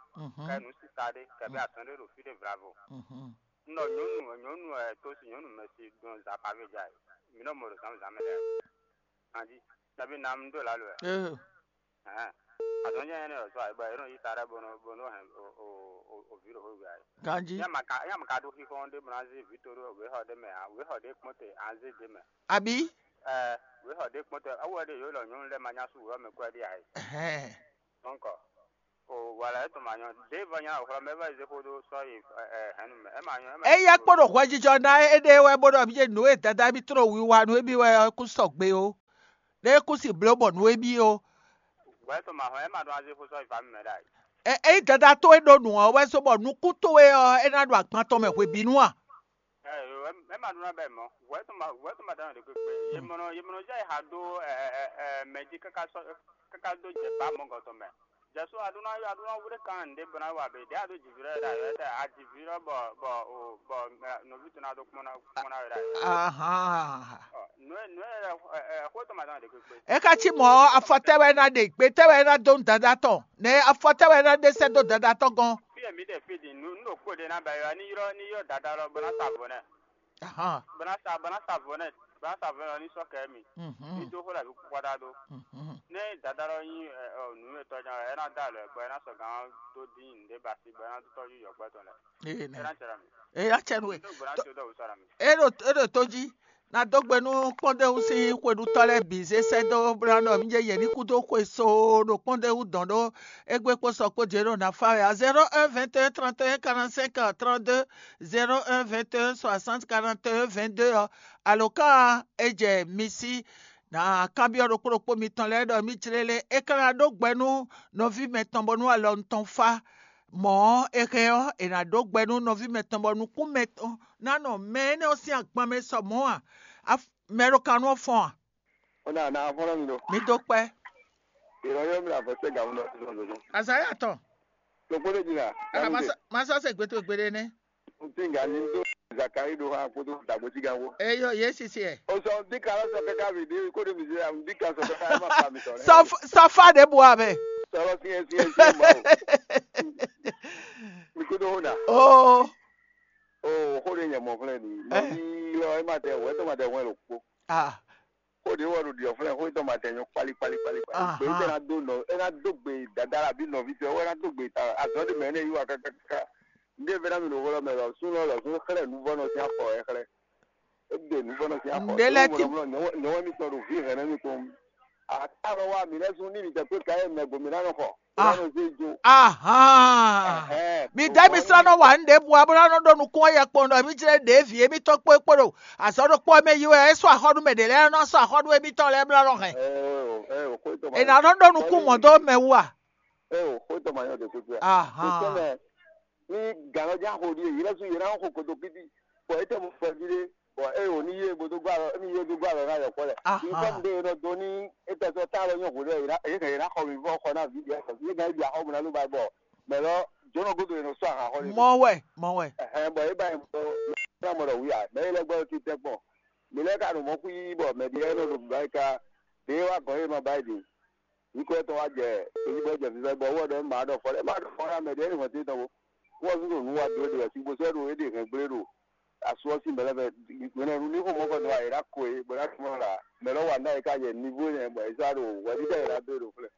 Kɛ nǔ sisa ɖé kɛbí azɔn ɖé ɖo fí ɖé vlavo. Un ɖɔ nyɔ̌nu nyɔ̌nu ɛ tó si nyɔ̌nu mɛ si ɖun zǎpavé ja ɛ. Mi nɔ mɔ ɖo zǎnzǎn mɛ lɛ́ɛ. Anjí, nabí ná un ɖó lǎlu ɛ. Hɛn. Azɔn jɛ ɛnɛ ɔsɔ ayi bɔ yɛ nɔ yi ta ɖe bɔ nɔ bɔ nɔ hɛn o o o o vi ɖo xwé gbe ayi. Ganji. Yɛ ma ka yɛ ma ka ɖo xixɔ ɖe bɔ na zé vi to ɖo wéxɔ ɖe mɛ a wéxɔ ɖe kpɔn te a zé ɖe mɛ. Àbí? Ɛ wéxɔ ɖe kpɔn te awu ɖe yɔ lɔ nyɔnu lɛ ma nya su wéxɔ mɛ kɔ ɖe ayi. Ɛhɛn. Donc o wala etɔn ma nyɔ ɖe va nya xlɔ mɛ va zé xó ɖo sɔ yi ɛ ɛ hɛn nu mɛ ɛ ma nyɔ ɛ ma. Eya kpɔɖo hwɛjijɔ ná éɖée wɛ bó ɖɔ mí nǔ e dada mí tló wiwa nú émí wɛ ɔ́ kú sɔgbe ó. Ɖé kú si bló bɔ nǔ émí ó. Wɛ to ma hɔn ɛ ma ɖo azé xó sɔ ifa mi mɛ ɖa. Ɛ ɛ dada towe ɖó nǔ ɔ́ wɛ só bɔ nukún towe ɔ́ é ná ɖo agban tɔn mɛ hwebǐnu a? Ɛ ɛ ma ɖo na bɛ mɔ. Wɛ to ma wɛ to ma dɔn de kpekpe. Ye mɔnɔ ye mɔnɔ jɛ ha do ɛ ɛ ɛ mɛ ji kaka sɔ kaka do jɛ ba mɔ gɔtɔ mɛ. Jɛsu a ɖo na a ɖo na wúɖé kan ɖe bɔ na wa be ɖe a ɖo jiviro ɖe ayɔ ɖe a jiviro bɔ bɔ o bɔ nɔvi to na ɖo kpɔn na kpɔn na yɔ ɖe ayɔ. Ahan. Nue nue ɛ ɛ xó tɔn ma dɔn de kpekpe. E ka ci mɔ afɔ tɛ wɛ na ɖe gbe tɛ wɛ na do dada tɔn ne afɔ tɛ wɛ na ɖe sɛ do dada tɔn gɔn. Fi emi ɖe fi di nu nu ɖo kpo ɖe na ba yɔ ni yrɔ ni yɔ dada lɔ bɔ na sa vo nɛ. Ahan. Bɔ na sa bɔ na sa vo nɛ bɔ na sa vo nɛ ni sɔ kɛ mi. Mhm. Ni do xó la bi kpɔkpɔta do. Mhm. Ne dada lɔ nyi ɛ ɔ nu etɔ nya ɛ na da lɛ bɔ ɛ na sɔ gan do din nde ba si bɔ ɛ na do tɔju yɔ gbɛtɔ lɛ. Ee nɛ. Ɛ na cɛ la mi. Ee ya cɛ nu e. Do gbɔ na tso dɔ wusɔ la mi. E ɖo e ɖo to jí. Na dó gbe nú kpɔ́ndéwú sín xweɖutɔ́ lɛ́ɛ bǐ zé sɛ́ dó bó ná ɖɔ mí jɛ yě ní kú dó xwe soo ɖo kpɔ́ndéwú dɔn ɖó égbé kpó sɔ kpó jě ɖo ná fá wɛ a zéro un vingt et un trente et un quarante-cinq trente-deux zéro un vingt et un soixante quarante et un vingt-deux ɔ́ alǒkan e jɛ mi sí ná kanbyɔ́ ɖokpó ɖokpó mitɔn lɛ́ɛ ɖɔ mí jlé lé é ka ná ɖó gbɛ nú nɔví mɛtɔn bónú alɔ tɔn fá. Mɔ̌ ɔ́, è hɛn ɔ́, è nǎ ɖó gbɛ nú nɔví mɛtɔn bɔ nukún mɛtɔn ná nɔ mɛ énɛ́ ɔ́ sín agban mɛ sɔ mɔ̌ ǎ. Mɛ ɖo kan nú ɔ́ fɔ́n a? Ó ná ná fɔ́n nɔ mi ɖo. Mi dó kpɛ́. Ìrọ̀ yóò mi àbọ̀ sẹ́ gàmú lọ sí lọ́dọ̀. Azaya tɔn. Lọ́kpọ́ lè jìnnà. Masɔ se gbetogbe ɖe nɛ. N ti nga ni do Zakari ɖo hã kpódó dàgbòsígánwó. Eyɔ yé sisi ɛ. O sɔ n di kan sɔ kaka mi di ko de mi se n di kan sɔ kaka ma pa mi sɔ. Sɔfa de bu amɛ. Sɔrɔ siɲɛ siɲɛ siɲɛ ma o. Mi ko do hona. Oo. O ko de nyɛ mɔ fúnɛ ni. Mɔ ní lɔ ẹ ma tɛ wɛ tó ma tɛ wɛ lò kpó. Ah. Xó ɖě wɛ ɖo ɖiɔ flɛ́ xó tɔn ma tɛ nyɔ kpali kpali kpali kpali. Gbé tɛ ná dó nɔ é ná dó gbe dada la bí nɔví tɔn é wɛ ná dó gbe ta azɔn ɖé mɛ énɛ́ yí wa kákáká. Ndé vɛ ná mi ɖo xó lɔ mɛ lɔ sún lɔ lɔ sún xlɛ́ nuvɔ́nɔ sín afɔ wɛ xlɛ́. É ɖe nǔ bɔ nɔ sín axɔ. Nǔɖé lɛ́ɛ ti- Nyɔ̌wɛ́ mitɔn ɖo vǐ hɛ̌nnu mitɔn. Atá nɔ wá mǐ lɛ́ɛ sú ní mǐ tɛ́ kpé ka e mɛ gbo mǐ ná nɔ xɔ. Mǐ ná nɔ zé jo. Ahán. Mǐ dɛ́ mi slá nɔ wa nǔ ɖěbǔ ǎ bó ná nɔ ɖó nukún ɔ́ yɛ kpɔn ɖɔ mí jlɛ́ ɖěvi émítɔn kpó kpó ɖo azɔ̌ ɖokpó ɔ́ mɛ yi wɛ é sɔ́ axɔ́ɖu mɛ ɖě lɛ́ɛ nɔ sɔ́ axɔ́ɖu émítɔn lɛ́ɛ blá nɔ hɛn. È nǎ nɔ ɖó nukún mɔ̌ dó mɛ wú a? Eo, xó tɔn ma nyɔ ɖe kúkú ɛ. Ahán. Kò tɔn mɛ ní gǎn ɔ́ já xo ɖíe yě lɛ́ sú yě ná xo kotokíti, bɔ é tɛ mɔ fɛví ɖé, bɔ é wǒ ní yé bó dó gbá alɔ ní yé dó gbá alɔ ná yɔkpɔ́ lɛ. Ahán. Ní fɛn ɖé e nɔ dó ní é tɛ sɔ́ tá alɔ nyɔ́ hwě ɖɔ yě ná yě hɛn yě ná xɔ mi vɔ xɔ ná vǐ ɖé sɔ yé ná yi axɔ́ mu ná ló ba bɔ mɛ lɔ jǒnɔ gúdo è nɔ sɔ́ ahan xɔ lé. Mɔ wɛ, mɔ wɛ. Ɛhɛn, bɔ é ba nyɛ bɔ mɛ ná mɔ ɖɔ wí a mɛ é lɛ́ gbɔ ti tɛ́ kpɔn. Mi lɛ́ ka ɖo mɔ̌ xwí bɔ mɛ ɖé nɔ ɖo bǐbá yi ka ɖě wá gɔ̌n é nɔ ba yi ɖe. Nyǐkɔ tɔn wá jɛ tóyíbɔ jɛ vívɛ́ bɔ wɔ ɖɔ má ɖɔ fɔ lɛ́ má ɖɔ fɔ ná mɛ ɖě ní hɔn tɔn bó wɔ zún ɖo nǔ wa dó ɖe wɛ sígbó sɔ́ ɖo é ɖe hɛn gblé ɖo asú ɔ́ sín mɛ̌ lɛ́ɛ mɛ hwɛ̌nɛ́nu ní xo mɔ̌ kɔ nɔ ayǐ ná ko é bó ná tunwun la mɛ lɔ́ wa ná é ká yɛ nivo nɛ bɔ é sɔ́ ɖo hwɛɖíɖɛ é ná dó é ɖo flɛ́.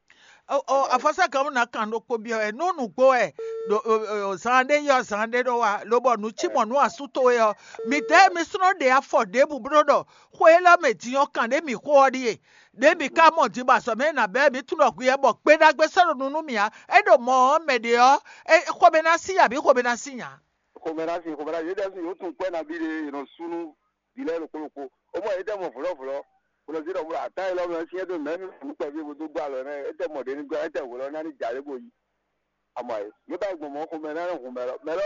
O o afɔsɛ́gɔ́mú ná kan ɖokpó byɔ́ wɛ nú nǔgbó wɛ ɖo o- o- o- zan ɖé yɔ zan ɖé ɖó wa lobɔ nǔ cí mɔ nú asú towe ɔ́, midɛɛ mi slɔ́ ɖe afɔ ɖěbǔ bló ɖɔ xwe élɔ́ mɛ din ɔ́ kan ɖě mǐ xo ɔ́ ɖíe. Ɖě mǐ ka mɔ din bɔ azɔ̌ mɛ e nǎ bɛ́ mǐ tunwun ɖɔ hwi wɛ bɔ gbe ɖagbe sɔ́ ɖo nu nú mì ǎ. É ɖo mɔ ɔ́ mɛ ɖě ɔ́, é xomɛ ná sí ya bǐ xomɛ ná sí nya? Xomɛ ná sin xomɛ ná yě ɖɛ́ sin yě tún kwɛ́ nabí ɖé è nɔ sú nú vǐ lɛ́ɛ ɖokpó ɖokpó. Ó mɔ yě tɛ mɔ vlɔ̌vlɔ́ bó nɔ zé ɖɔ bó ɖo atán élɔ́ mɛ ɔ́ sín é ɖó mɛ̌ mi nǔ kpɛví bó dó gbɔ alɔ nɛ́ é tɛ mɔ ɖě ní gbɔ é tɛ hwelɔ́ ná ní jà lé bó yi. Ama e yě ba yi gbɔn mɔ̌ xomɛ ná nɔ hun mɛ lɔ mɛ lɔ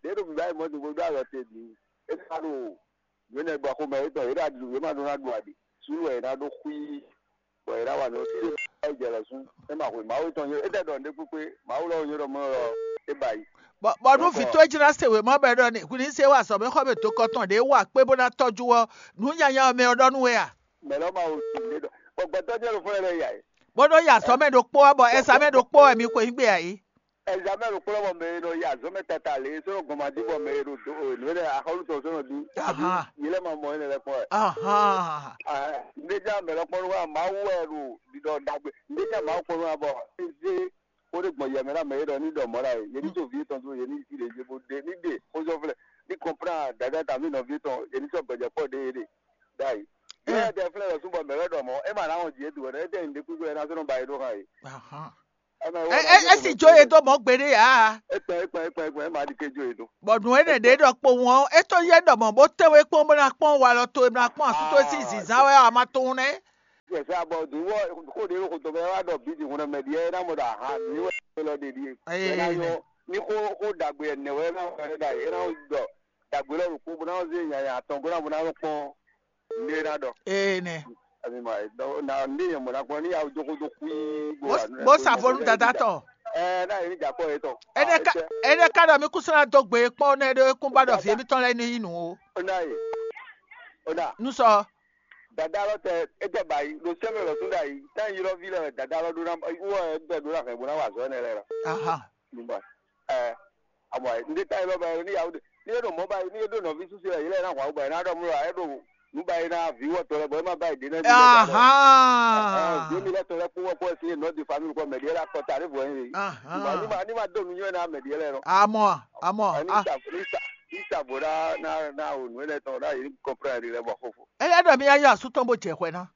ɖě ɖo bǐbá yi mɔ̌ din bó ɖó alɔ te bǐ. É ká ɖo yě nɛ gbɔ xomɛ yětɔn yě ɖo aɖu yě ma ɖó ná ɖu aɖi. Sú wɛ yě ná ɖó xwí bɔ yě ná wa nǔ ɔ́ fí ɖé bá yi jɛ lɔ̌ sú é ma hwe Mawu tɔn nyɔ́ é tɛ ɖɔ nǔɖé kpékpé Mawu lɔ nyɔ́ ɖɔ mɔ lɔ é ba yi. Bɔ bɔ nú vǐ towe jí ná se wěma bɔ é ɖɔ ni hwi ní se wá azɔ̌ mɛ xɔ mɛ dokɔ tɔn ɖě wa kpé bó ná tɔjú ɔ́, nǔ nyanya ɔ́ mɛ ɔ́ ɖɔ nú we a? Mɛ lɔ ma wo tún ɖé ɖɔ bɔ gbɛtɔ́ jẹ́ ló fún ẹ lɛ yà é. Bó ɖó yi azɔ̌ mɛ ɖokpó wá bɔ ɛzamɛ ɖokpó wɛ mi xwe nyí gbe ǎ é. Ɛzamɛ ɖokpó lɔ bɔ mɛ e nɔ yi azɔ̌ mɛ tata lě é sɔ́ nɔ gbɔn ma dí bɔ mɛ e ɖo do nǔ énɛ́ axɔ́lú tɔn sɔ́ nɔ dí. Ahán. Yě lɛ ma mɔ énɛ́ lɛ́ kpɔ́n wɛ. Ahán. Ndéjá mɛ lɔ kpɔ́n nú wa Mawu wɛ ɖo ɖiɖɔ ɖagbe. Ndéjá Mawu kpɔ́n nú wa bɔ é zé xó ɖé gbɔn yɛ mɛ ná mɛ é ɖɔ ní ɖɔ mɔ̌ ɖa é yě ní tó vǐ tɔn dó yě ní sí ɖě yě bó ɖe ní ɖe xózɔ́flɛ́ ní kɔnplán dada tami nɔví tɔn yě ní sɔ́ gbɛjɛ kpɔ́ ɖě yě ɖe ɖ'ayǐ. Yě wɛ tɛ flɛ́ lɔ̌ súnbɔ mɛ lɛ́ ɖɔ mɔ̌ é ma ná wɔn jǐ é dǒ wɛ é tɛ nyí ɖěkúgbó wɛ ná sɔ́ nɔ ba é ɖó hàn é. Ahán. Ɛ mɛ é wɛ é é sì jó yě dó mɔ̌ gbeɖé ǎ. É kpɛn é kpɛn é kpɛn é kpɛn é ma ɖi ké jó yě dó. Bɔ nǔ énɛ́ ɖě ɖɔ kpowun ɔ́ é tɔ́ yɛ ɖɔ mɔ̌ bó tɛ́ wé kpɔ́n bó ná kpɔ́n walɔ towe bó ná kpɔ́n asú towe sín zǐnzán wɛ ɔ́ a ma tunwun nɛ́. Yɛsɛ abɔ dun wɔ kó ɖe ló xotɔ bɛ wá ɖɔ bíbí hun mɛ ɖíɛ é ná mɔ ɖɔ aha mi wɛ é lɔ ɖe ɖíe. Ee, é ná nyɔ ní xó xó ɖagbe ɛnɛ wɛ é ná wɛ é ɖa é ná ɖɔ ɖagbe lɔ ɖo kó bó ná zé nyanya atɔn gó ná bó ná kpɔn ní é ná ɖɔ. Ee nɛ. Ami ma na ní yẹn mɔ ná kpɔn ní yawu jókòó dó kúí bó Bó wà nú bó ẹ sa bó fonu ní dada tɔ. Ɛ ná yẹ ní jà kpɔ yẹ tɔ. Ene ka ene ka ɖɔ mi kúsú ná dó gbe kpɔn nɛ ɖo ekún ba ɖɔ vi émítɔn lɛ ní yí nù o. Ó ná yè ó ná. Nú sɔ. Dada lɔ tɛ é tɛ ba yi ɖo sɛmɛ lɔ tún ɖa yi tá yi lɔ vi lɛ dada lɔ ɖó ná wɔ ɛ bɛ ɖó ná hɛn bó ná wà zɔ ɛnɛ lɛ lɔ. Aha. Nígbà ɛ àmọ́ ɛ ndé tá yi lɔ ba yi ní yàwó ní yóò dò mọ́ ba yi ní yóò dò nɔví súsú ɛ yìí lɛ ná hwà wó ba yi ná ɖɔ mú lɔ ɛ ɖo nú ba yi ná vi wɔ tɔ lɛ bɔ ɛ má ba yi dé nɛ. Aha. Ɛ vi mi lɛ tɔ lɛ kpó wɔ kpó ɛ sí nɔ di famille kɔ mɛ di ɛ la kɔ ta ní vɔ yín. Aha. Ní ma ní ma dó nu nyɔ ná mɛ di ɛ lɛ nɔ. Amɔ amɔ. Ɛ ní sa ní sa ní sa bó ná ná ná o nù ɛ lɛ tɔ ná yìí kɔnpilɛ ɛ di lɛ bɔ fofo. Ele ɖɔ mi yá yɔ asú tɔn bó jɛ xwɛ ná.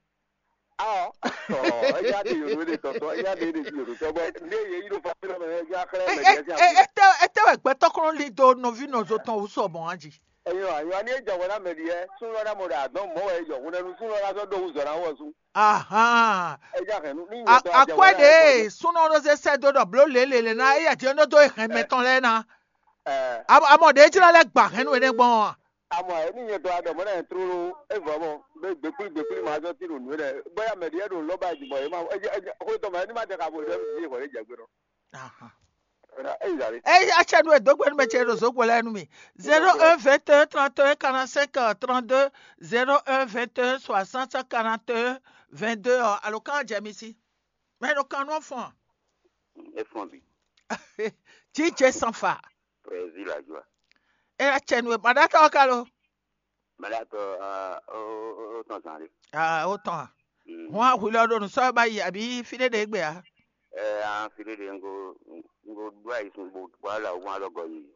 Aɔ, ɔ, eya de yoɖo de tɔtɔ, eya de de yoɖo tɔ bɔ ne ye yi ɖo fafin mɛ eya xlɛ mɛ diɛ. Ete ete wɛ gbɛtɔ kɔnɔ li do nɔvi nɔzo tɔn wusɔ mɔ anji. Eyan ayan ni ejan wɛ na mɛ diɛ sunlɔ na mɔ ɖe adɔn mɔ wɛ yɔ hun nɛnu sunlɔ na sɔ do wuzɔ na wɔ sun. Ahan. Eya hɛn nu ni nyɛ tɔ ajɛ wɛ. Akwɛ de sunɔ ɖo se sɛ do ɖɔ blo lelele na eya ti ɖo do hɛn mɛ tɔn lɛ na. Amɔ ɖe jira lɛ gba hɛn nu ene gbɔn. Amɔ ɛ ní nyɛ dɔ aɖɔ mɔ náà tlóló é vɔ mɔ bé gbékúlí gbékúlí máa zɔ tí ɖo nǔ é ɖɛ bóyá mɛ ɖíɛ ɖo lɔ́ba jí bɔ é ma é é xó tɔn mɛ ní ma jɛ ka bo ɖɔ mí jí hwɛ ɖé jɛ gbé ɖɔ. Ahan. Ɛna é yi zali. Eyi atsɛ nu edo gbe nu mɛ ce ɖo zogbo lɛ nu mi. Zéro un vingt et un trente et un quarante cinq trente deux, zéro un vingt et un soixante quarante et un vingt deux ɔ alo kan jɛ mi si. Mɛ ɖo kan nɔ fɔn. E fɔn bi. Jíjɛ sanfa. Président la joie. E atsɛ nu e ma ɖa tɔ ka lo. Mɛɖatɔ ó tɔn zan ɖe. Ah, ó tɔn a. Hɔn ahwi lɔ ɖo nǔ sɔ́ ba yi àbí fí ɖé ɖe gbé a? Ɛ an fi ɖé ɖe ŋgo ŋgo ɖó ayi sun bo bo ala wọn alɔ gɔ yi.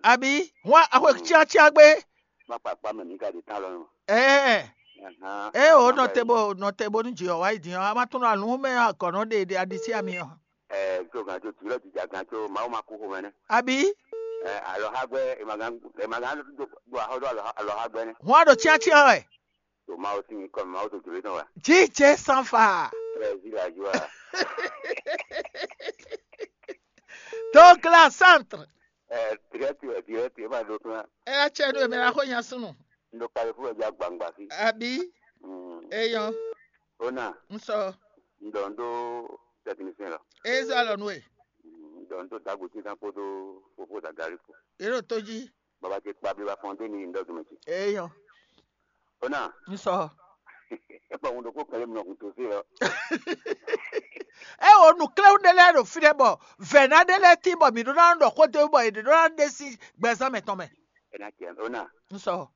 Àbí hɔn ahwe tíatíá gbé. má kpa akpá mɛ mǐ ka ɖe tán lɔ nɔ. Ɛɛ, Ahan, ɛ o má nɔ kpa te yi. Bo nɔ te bónú jǐ ɔ́ wá yi din ɔ́, a ma tunɔ alǔn mɛ agɔ̌nɔ ɖe ɖe aɖisí ami ɔ́. Ɛ, tó gan tó tìlɔ dìjà gan tó Mawu ma kú xomɛ nɛ. Abi, Ɛ, alɔxagbɛ, emagan emagan ɖo ɖo axɔ ɖo alɔxagbɛ nɛ. Hɔn a ɖo cyácyá wɛ. To Mawu sín kɔ Mawu to jlǒ tɔn wɛ. Jijɛ sanfa. Ɛ, zi la ju wa. Donc la centre. Ɛ, direct wɛ, direct e ma ɖo kán. Ɛ, a cɛ ɖo mɛ la xo nya sunu. N ɖo kali fún ɛjá gbangba sí. Abi, Mm. Eyɔn, Ona, n sɔ. N ɖɔ n ɖó technicien lɔ. E zɔ alɔ nú e. Mm, N ɖɔ n ɖó dago tí kan kpódó fofó dagari kpo. E ɖo tó jí. Baba ce kpa bí wa fɔn dé ní n ɖɔ dùn mɛ ce. Eyɔn, Ona, n sɔ. E kpa ŋun ɖokó kɛlɛ mlɔ hun tó sí lɔ. E wo nǔkléwú ɖé lɛ́ɛ ɖo fínɛ́ bɔ vɛ̌ná ɖé lɛ́ɛ tín bɔ mǐ ɖó ná ɖɔ xó dó bɔ è ɖǒ ná ɖe sín gbɛzán mɛtɔn mɛ. E na cɛ Ona. N sɔ.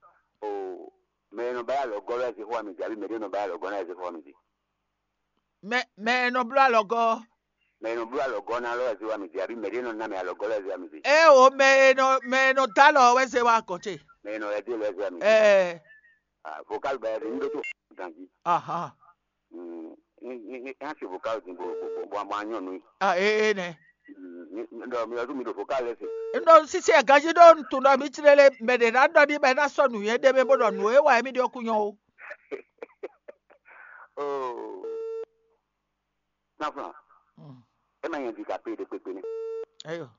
O, mɛ e nɔ ba yá lɔ gɔ́ lɔ ɛ zé xó wa mi dě, abí mɛ ɖé nɔ ba yá lɔ gɔ́ ná ɛ zé xó wa mi dě. Mɛ mɛ e nɔ bló alɔgɔ́. Mɛ e nɔ bló alɔgɔ́ ná lɔ ɛ zé wa mi dě, abí mɛ ɖé nɔ ná mɛ alɔgɔ́ lɔ ɛ zé wa mi dě. E o mɛ e nɔ mɛ e nɔ dó alɔ wɛ zé wa gɔn ce. Mɛ e nɔ lɛ dé lɔ ɛ zé wa mi dě. Ɛɛ. Ah, vocal bɛ ɖe ní ɖó tó ganjí. Ahan. Mm, ní ní ní ká ṣe vocal dín bó bó bó bó bó anyɔ nú yìí. Ah, ee nɛ. Mm, ní ní ɖɔ mi ɔdún mi ɖo vocal lɛ se. N ɖɔ sísè ganjí ɖó n tunɔ mi tlélé mɛ ɖě ná ɖɔ ní bɔ é ná sɔ́ nǔnywɛ́ ɖé mɛ bó ɖɔ nǔ e wa émí ɖe ɔ́ kún nyɔ́ ó. Oh. Náfúnà, Mm. É ma nyɛ di ka pé ɖé kpékpé nɛ́. Eyo.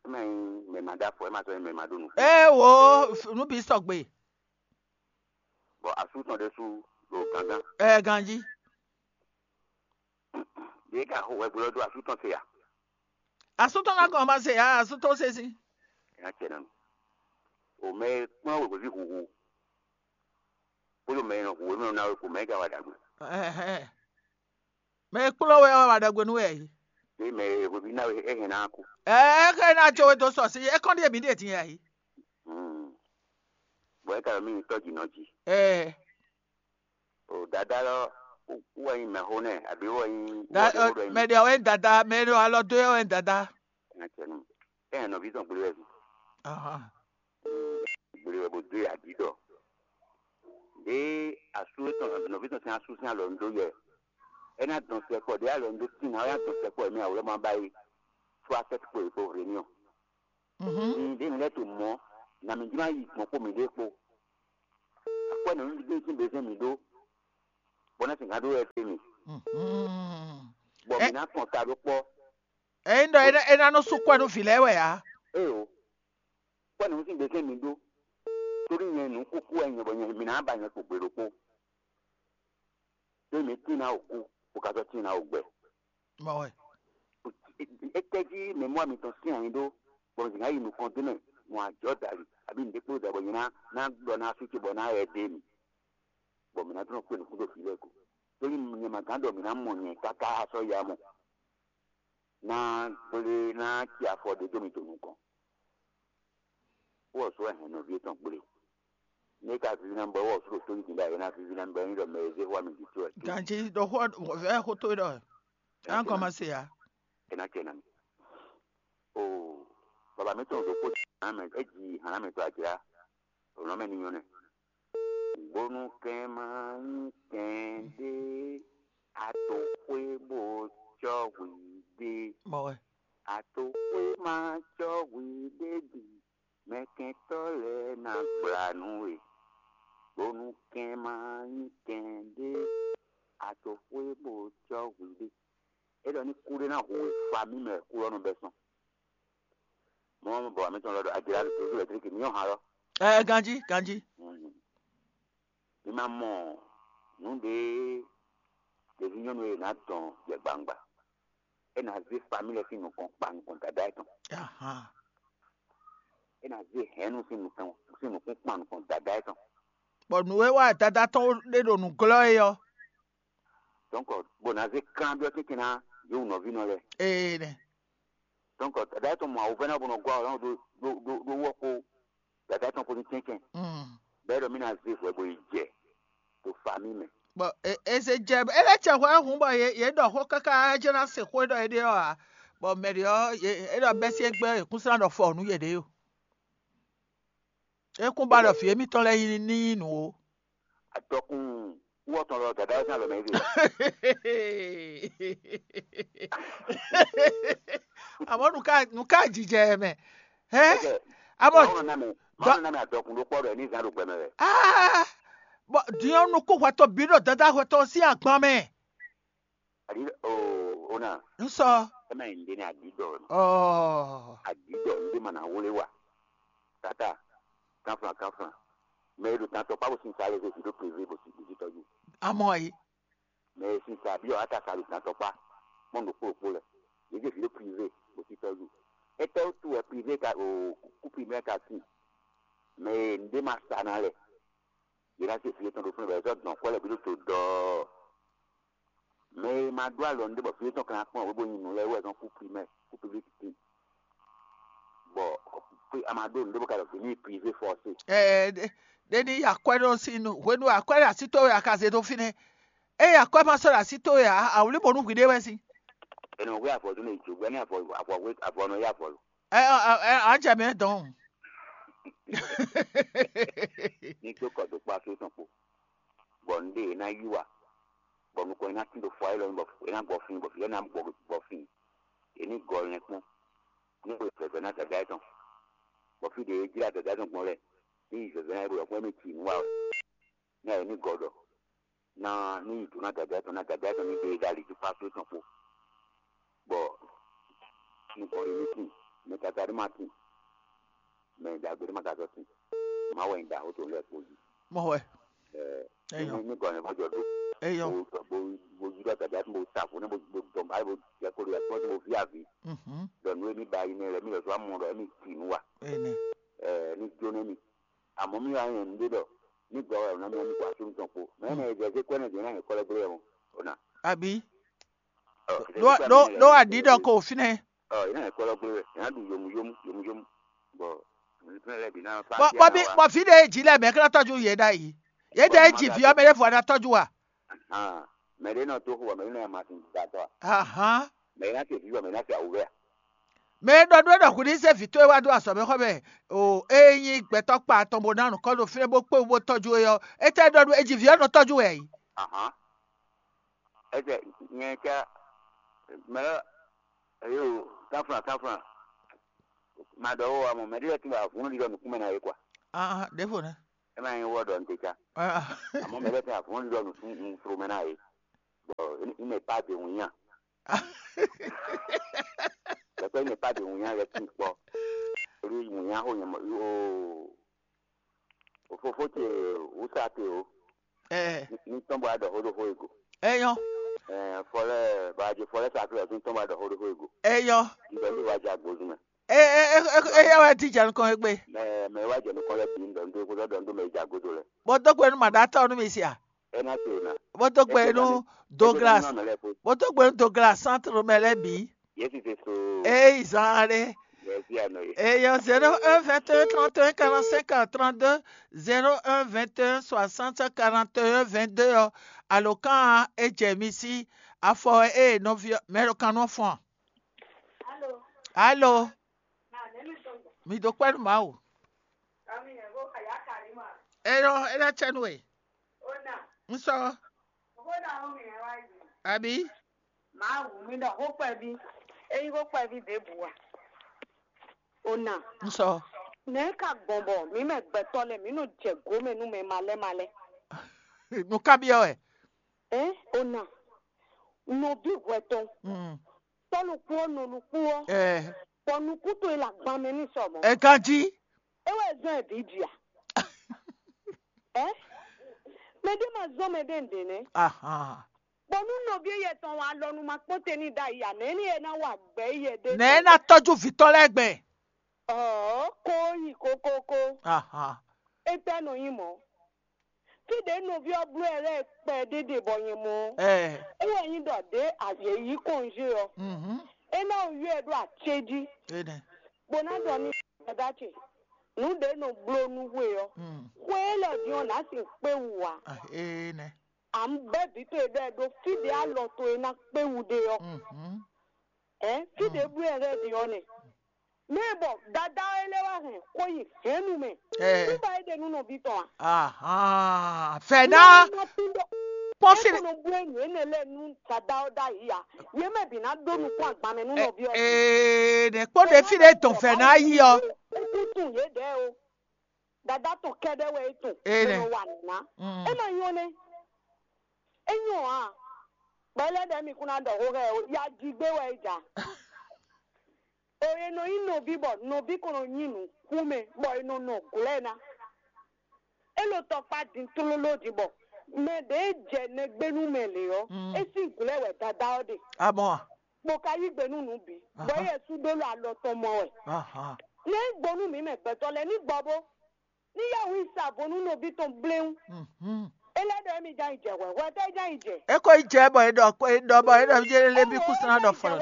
É ma nyí mɛ ma ɖó afɔ, é ma sɔ́ nyí mɛ ma ɖó nu. Ee wo f- nú bǐ sɔgbe. Bɔ asú tɔn ɖésú ɖo gángan. Ɛ ganjí. Yě ka xo hwɛgblɔ́ dó asú tɔn se a? Asú tɔn ná gɔn ma se ya asú tɔn se sín. Nya cɛ nɔ. O mɛ e kplɔ́n wěwéví huhu. Kpódó mɛ e nɔ hu wěwé nɔ ná wé kpo mɛ e ka wa ɖagbe. Ɛhɛn. Mɛ e kplɔ́n wɛ ɔ́ wa ɖagbe nú wɛ yí. Ní mɛ e hweví ná wé é hɛn ná kú. Ɛɛ é xɛ ná tso wé dó sɔ sí é kɔn ɖíe mǐ ɖe din yɛ yí. Hmm. Bɔ é ka ɖo mí nyí tɔ́ jǐ nɔ jí. Ɛɛ O dada lɔ wú wɛ nyí mɛxó nɛ abǐ wɛ nyí da wú wɛ nyí mɛ ɖe wɛ nyí dada mɛ ɖe alɔ dó wɛ nyí dada. Nya cɛ nú. Ɛ nɔví tɔn gblé wɛ. Ahan. Gblé wɛ bó dó yà dí ɖɔ. Ɖé asú tɔn nɔví tɔn sín asú sín alɔ ń dó yɛ. É ná dɔn sɛkpɔ ɖé alɔ ń dó tín ná é ná dɔn sɛkpɔ mɛ àwòrán ma ba yi. Fó asɛt kpo yi kpo réunion. Mhm. Ɖé mi lɛ́ to mɔ̌, nǎ mi jló ná yi gbɔn kpó mǐɖée kpó. Akwɛ́ nǔɖuɖu sín bezɛ́n mǐ ɖó, bɔ ná sixá ɖó wɛ dó mì, Mhm. Bɔ mǐ ná kɔn ta ɖó kpɔ́. Ényí ɖɔ é ná- é ná nɔ sú kwɛ nú vǐ lɛ́ɛ wɛ ǎ. Éyo, kwɛ́ nǔ sín bezɛ́n mǐ ɖó, tórí nyɛ nǔ kúkú wɛ nyɛ bɔ nyɛ mǐ ná ba nyɛ kpo gbe ɖokpó. Ɖé mǐ tín ná wǒ kú, bó ka sɔ́ tín ná wǒ gbɛ. Mɔ wɛ. Étɛ́ jí mɛ mɔ mitɔn sín ayi ɖó, bɔ mi ná yi nukɔn dó mɛ mɔ ajɔ̌ dali, abǐ nǔɖé kpó da bɔ nyɛ ná ná ɖɔ ná sú ce bɔ ná yɛ dé mi, bɔ mǐ ná dó nɔ kpé nukún ɖo fǐ lɛ́ɛ ko. Tóli nyɛ ma gán ɖɔ mǐ ná mɔ nyɛ káká sɔ́ ya mɔ, ná gblé ná ci afɔ ɖé dó mi to nukɔn. Wɔ sɔ hɛn nɔví etɔn gblé. Ní ka vivi ná bɔ wɔ sɔ tó yí da yɛ ná vivi ná bɔ ní ɖɔ mɛ zé hwa mi di tó ɛ. Ganji ɖɔ xó vɛ xó tó ɖɔ. An kɔmase ya. Ena cɛ na mi. O baba mi tɔn ɖo kó hàn mɛ e ji hàn mɛ tó ajra. O nɔ mɛ ni nyɔ nɛ. Bónú kɛn ma nyí kɛn ɖé ato xwé bó cɔ́ hwi ɖé. Mɔ wɛ. Ato xwé ma cɔ́ hwi ɖé bǐ. Mɛkɛntɔ́ lɛ́ɛ ná gbla nú we, bónú kɛn ma nyí kɛn ɖé, a to xwé bó cɔ́ hwi ɖé. É ɖɔ ní kúɖé ná hu we fa mì mɛ kú ɔ́ nɔ bɛ́ sɔn. Mɔ bɔ wǎ mǐtɔn lɔ ɖɔ ajlá ɖo tózú lɛ́triki mǐ nyɔ́ han lɔ. Ɛ ganjí ganjí. Mi ma mɔ nǔ ɖé ɖeví nyɔ́nu e ná dɔn jɛ gbangba. É ná zé família sín nukɔn kpa nukɔn dada etɔn. Ahan. É ná zé hɛ̌nnu sín nukɔn sín nukún kpa nukɔn dada etɔn. Bɔ nǔ e wa dada tɔn ɖe ɖo nǔ glɔ́ é ɔ́. Donc bó ná zé klán byɔ́ tɛ́ntin ná yě wǔ nɔví nɔ lɛ́ɛ. Ee nɛ. Donc dada etɔn mɔ awuvɛ́ná bó nɔ gɔ́ awǔ ɖó ɖó ɖó ɖó wɔ kpó dada etɔn kpó ní tɛ́nkɛn. Mm. Bɛ́ ɖɔ mí ná zé hwɛ bó yi jɛ ɖo família mɛ. Bɔ e- eze dze ele tsɛ hwɛ hǔn bɔ yě yě ɖɔ xó káká jɛ́n ná se xó e ɖɔ é ɖe ɔ́ ǎ. Bɔ mɛ ɖě ɔ́ yě é ɖɔ bɛ́ sí égbé ɔ́, yě kún slán ɖɔ fɔ nǔ yěɖée o. É kún ba ɖɔ vǐ émítɔn lɛ́ɛ ní nyí nǔ ó. Adɔkun wú ɔtɔn lɔ dada ɔ́ sín alɔ mɛ é ɖe. Àmọ́ nǔ ká nǔ ká jijɛ ɛ mɛ. Hɛn? Amɔ Mawu nɔ ná mɛ Mawu nɔ ná mɛ adɔkun ɖó kpɔ́ ɖɔ ní zan ɖo gbɛmɛ wɛ. Ah, bɔ diɔ nukún hwɛtɔ bí ɖo dada hwɛtɔ sín agban mɛ. Adi o o na. Nsɔ. Ema yi nde ni adi dɔ. Ɔ. Adi dɔ nde ma na wole wa. Tata, kanflan kanflan. Mɛ e ɖo tantɔ kpa bo sin sa lɛ zé vi ɖo privé bo si bo si tɔjú. Amɔ yi. Mɛ e sin sa bi ɔ ata sa ɖo tantɔ kpa. Mɔ ɖo kpó kpó lɛ. Yě zé vi ɖo privé bo si tɔjú. Étɛ́ wútu wɛ privé ka o kú privé ka sin. Mɛ e nde ma sa na lɛ. Yě ná zé vi yětɔn ɖo fúnɛ bɔ yě zɔ dɔn kwɛ́ lɛ bí ɖo to dɔɔ. Mɛ e ma ɖó alɔ nɖé bɔ fí étɔn kan kpɔ́n wěbo nyi nǔ lɛ́ɛ wɛ zɔn kú primɛ kú public tin bɔ a ma ɖó nǔɖé bɔ ka ɖɔ fí ní privé forcé. Ɛ ɖe ɖe ní yi akwɛ́ ɖo sín nu hwenu akwɛ́ ɖo así towe a ka zé dó fínɛ́. Eye akwɛ́ ma sɔ́ ɖo así towe ǎ, a wlí bɔ nú hwiɖée wɛ sín. Ɛnɛ hwé avɔ dó ne dzogbɛ ní avɔ avɔ hwé avɔ nɔ yá avɔ lo. Ɛ ɔ ɛ ɔ, a jɛ mɛ dɔn. Ní dó kɔ dó kpá fí tɔn kpó. Bɔ nɖé e ná yí wa bɔ nukɔn e ná tín ɖo fɔ élɔ́ bɔ é ná gbɔ fín bɔ fí lɛ́ɛ ná gbɔ gbɔ fín. È ní gɔ lɛn kpɔ́n ní xwe vɛ̌vɛ́ ná dada tɔn bɔ fí ɖě e jlá dada tɔn gbɔn lɛ́ɛ ní yi vɛ̌vɛ́ ná é ɖo yɔkpɔ́ mɛ ci nǔ wa wɛ. Ní ayǐ ní gɔ ɖɔ ná ní yi dǒ ná dada tɔn ná dada tɔn ní ɖe ɖo ali jí kpá fí tɔn kpó. Bɔ nukɔn ɖé ní tín mɛ tata ɖé má tín mɛ ɖagbe ɖé má ka sɔ́ tín. Má wɛ nyí ɖaxó tɔn lɛ́ɛ kpó jí. Mɔ wɛ. Eyɔ. Ní gɔnɛ bó jɔ dó. Eyɔ. Bó bó bó yí ɖɔ gàdá bó sa fún bó bó dɔn báyìí bó jẹ kó lè kpɔ́n bó ví àví. Mhm. Dɔn nú émi ba yi nɛ lɛ mi lɔ sɔ amɔ ɖɔ émi tì nú wa. Ene. Ɛ ní jó nɛ mi. Àmọ́ mi wá yẹn nú ɖé ɖɔ ní gɔ ɛ ná mi wá mi kó aṣọ mi tɔn kpó. Mɛ ɛ nɛ ɛ jẹ kó ɛ nɛ jẹ náà yẹn kɔlɛ gbé ɛ mɔ. Ọ̀nà. Àbí. Ɖó ɖó ɖó aɖǐ ɖɔ ko fínɛ́. Ɔ yìí náà kɔlɔ gbé wɛ yìí náà ɖu yomu yomu yomu yomu bɔ nìkan lɛ bi náà fa. Bɔ bɔ bí bɔ fí ɖe jí lɛ mɛ kí ná tɔjú yé ɖa yìí. Yé ɖe jí vi ɔmɛ ɖé fɔ ná tɔjú wa. Mɛ ɖé náà tó xo wà mɛ ɖé náà ma sin da tɔ a. Ahan. Mɛ yìí náà ṣe fi wà mɛ yìí náà ṣe àwùjọ a. Mɛ ɖɔ ɖó ɖɔ hu ní zé vǐ towe wá dó azɔ̌ mɛ xɔ mɛ o, eye nyí gbɛtɔ́ kpa atɔn bó ná nǔkɔ ɖo fínɛ́ bó kpé wú bó tɔjú we ɔ́, étɛ́ ɖɔ ɖó ejí vǐ ɔ́ nɔ tɔjú wɛ a yǐ? Ahan. Ɛsɛ nyɛ ca mɛ lɔ eyo kanflan kanflan ma ɖɔ wo amɔ mɛ ɖé lɛ tún bɔ avǔn ɖiɖɔ nukún mɛ na yé kwa. Ah, ɖěvo nɛ. Ɛ ma nyɛ wɔ ɖɔ n te ca. Ah. Amɔ mɛ lɛ tún avǔn ɖiɖɔ nukún nufro mɛ na yé. Bɔ n mɛ pa de wun nya. Lɛkpɛ n mɛ pa de wun nya lɛ tún kpɔ. Olu wun nya xo nyɛ mɔ o. Fofo ce wúsa te o. Ɛ Ní tɔn bɔ adɔ xó ɖo xó ego. Eyɔ. Ɛ fɔlɛ bàjẹ́ fɔlɛ sàkúrẹ́ tún tɔn bɔ adɔ xó ɖo xó ego. Eyɔ. Ŋdɔ ní wàá jẹ agbózú mɛ. Ɛ ɛ ɛ ɛ yɛ wɛ ti jɛ nukɔn egbe. Mɛ mɛ wàá jẹ nukɔn lɛ bǐ ŋdɔ ŋdó kó dɔ ŋdó mɛ ìjà godo lɛ. Bó dó gbe nú màɖá tɔ́ nú mi sia. Ɛ ná se o na. Bó dó gbe nú Douglas. Bó dó gbe nú Douglas centre mɛ lɛ bǐ. Yesu Kristo. Eyi zan ɖe. Yesu anɔ ye. Eyɔ zéro un vingt et un trente et un quarante cinq trente deux, zéro un vingt et un soixante quarante et un vingt deux ɔ, alokán e jɛ mi sí afɔ e nɔví mɛ ɖo kan nɔ fɔn. Alo. Mi do kpɛ́ nú Mawu. Eyɔ é lɛ́ cɛ nú we. N sɔ. Àbí? Mawu mi ɖɔ xó kpɛví, é nyí xó kpɛví ɖěbǔ a? O na. N sɔ. Nɛ̌ ka gbɔn bɔ mǐ mɛ gbɛtɔ́ lɛ́ɛ mǐ nɔ jɛ gǒ mɛ nú mɛ malɛ́ malɛ́? Nǔ kábyɔ́ wɛ. Ɛ o na. Nɔví hwɛtɔn. Mm. Tɔ́ ɖokpó ɔ́, nɔ ɖokpó ɔ́. Ɛ. Bɔ nukún towe le agban mɛ n'i sɔ mɔ̌. Ɛ ganjí. É wɛ zɔ́n ɛ bǐ ji a? Ɛ? Mɛ ɖé ma zɔ́n mɛ ɖé nǔɖé nɛ́. Ahan. Bɔ nú nɔví éyɛ tɔn wa alɔ nu ma kpɔ́n te n'i ɖ'ayǐ a, nɛ̌ ní e ná wa gbɛ éyɛ ɖé? Nɛ̌ ná tɔ́jú vǐtɔ́ lɛ́ɛ gbɛn? Ɔ̌, ko yi kokoko. Ahan. Étɛ́ nɔ nyí mɔ̌? Fí ɖě nɔví ɔ́ bló ɛ lɛ́ɛ kpɛ ɖéɖé bɔ nyɛ mɔ ɔ́, Ɛ. É wɛ nyí ɖɔ ɖě yě yí kɔnzé ɔ́, Mhm. É ná wú yɔ ɛ ɖó acéjí, Enɛ. Bó ná ɖɔ n'i: Dada ce, nǔ ɖě nɔ bló nú xwe ɔ́, Mm. Xwe élɔ́ din ɔ́, nǎ sin kpé wú ǎ. Ah, enɛ. À ń bɛ́ vǐ towe ɖɔ ɛ ɖó fí ɖě alɔ towe ná kpé wú ɖe ɔ́. Mhm. Ɛ fí ɖě bló ɛ lɛ́ɛ ɖe ɔ́ nɛ. Mɛ e bɔ dada ɔ́ é lɛ́ wá hɛn xó yi hɛ̌nnu mɛ. Ɛ. Kúba é ɖe nú nɔví tɔn a? Ahan, fɛ̌ ná Nɔ tún ɖɔ kpɔ́n é fí kɔnɔ bú nǔ énɛ́ lɛ́ɛ nú dada ɔ́ ɖ'ayǐ a? Yě mɛ bǐ ná ɖó nukún agban mɛ nú nɔví ɔ́. Ee, nɛ̌ kpɔ́n ɖě fí ɖé dɔn fɛ̌ ná yi ɔ́. É kún tunwun yěɖɛɛ o. Dada tɔn kɛ́ɖɛ́ wɛ é tunwun. Ee, nɛ. Nɔ wa nǔ ná. Mm. É ma nyɔ́ nɛ́. É nyɔ́ ǎ. Bɔ é lɛ́ ɖɔ émí kún ná ɖɔ xó xá ɛ o. Ya ji gbé wɛ é ja. O e nɔ nyí nɔví bɔ nɔví kɔn nɔ nyí nǔkún mɛ bɔ è nɔ nɔ glɔ́ ɛ ná. É lo tɔkpá din tlóló din bɔ mɛ ɖě jɛ nɛgbé nú mɛ lě ɔ́, Mm. É sín glɔ́ wɛ dada ɔ́ ɖe. Amɔ. Bó ka yí gbe nú nǔ bǐ, bɔ Aha. Yɛsu ɖó lɔ alɔ tɔn mɔ wɛ. Aha. Nɛ́ gbɔ nú mǐ mɛ gbɛtɔ́ lɛ́ɛ ní gbɔ bó. Ní yá wǔ yi sa vo nú nɔví tɔn bléwún. Mhm. É lɛ́ ɖɔ émí ján yi jɛ hwɛ̌, hwɛ tɛ́ é ján yi jɛ? É ko yi jɛ bɔ é ɖɔ ko é ɖɔ bɔ é ɖɔ yé lé bí kúsinná ɖɔ fɔlɔ.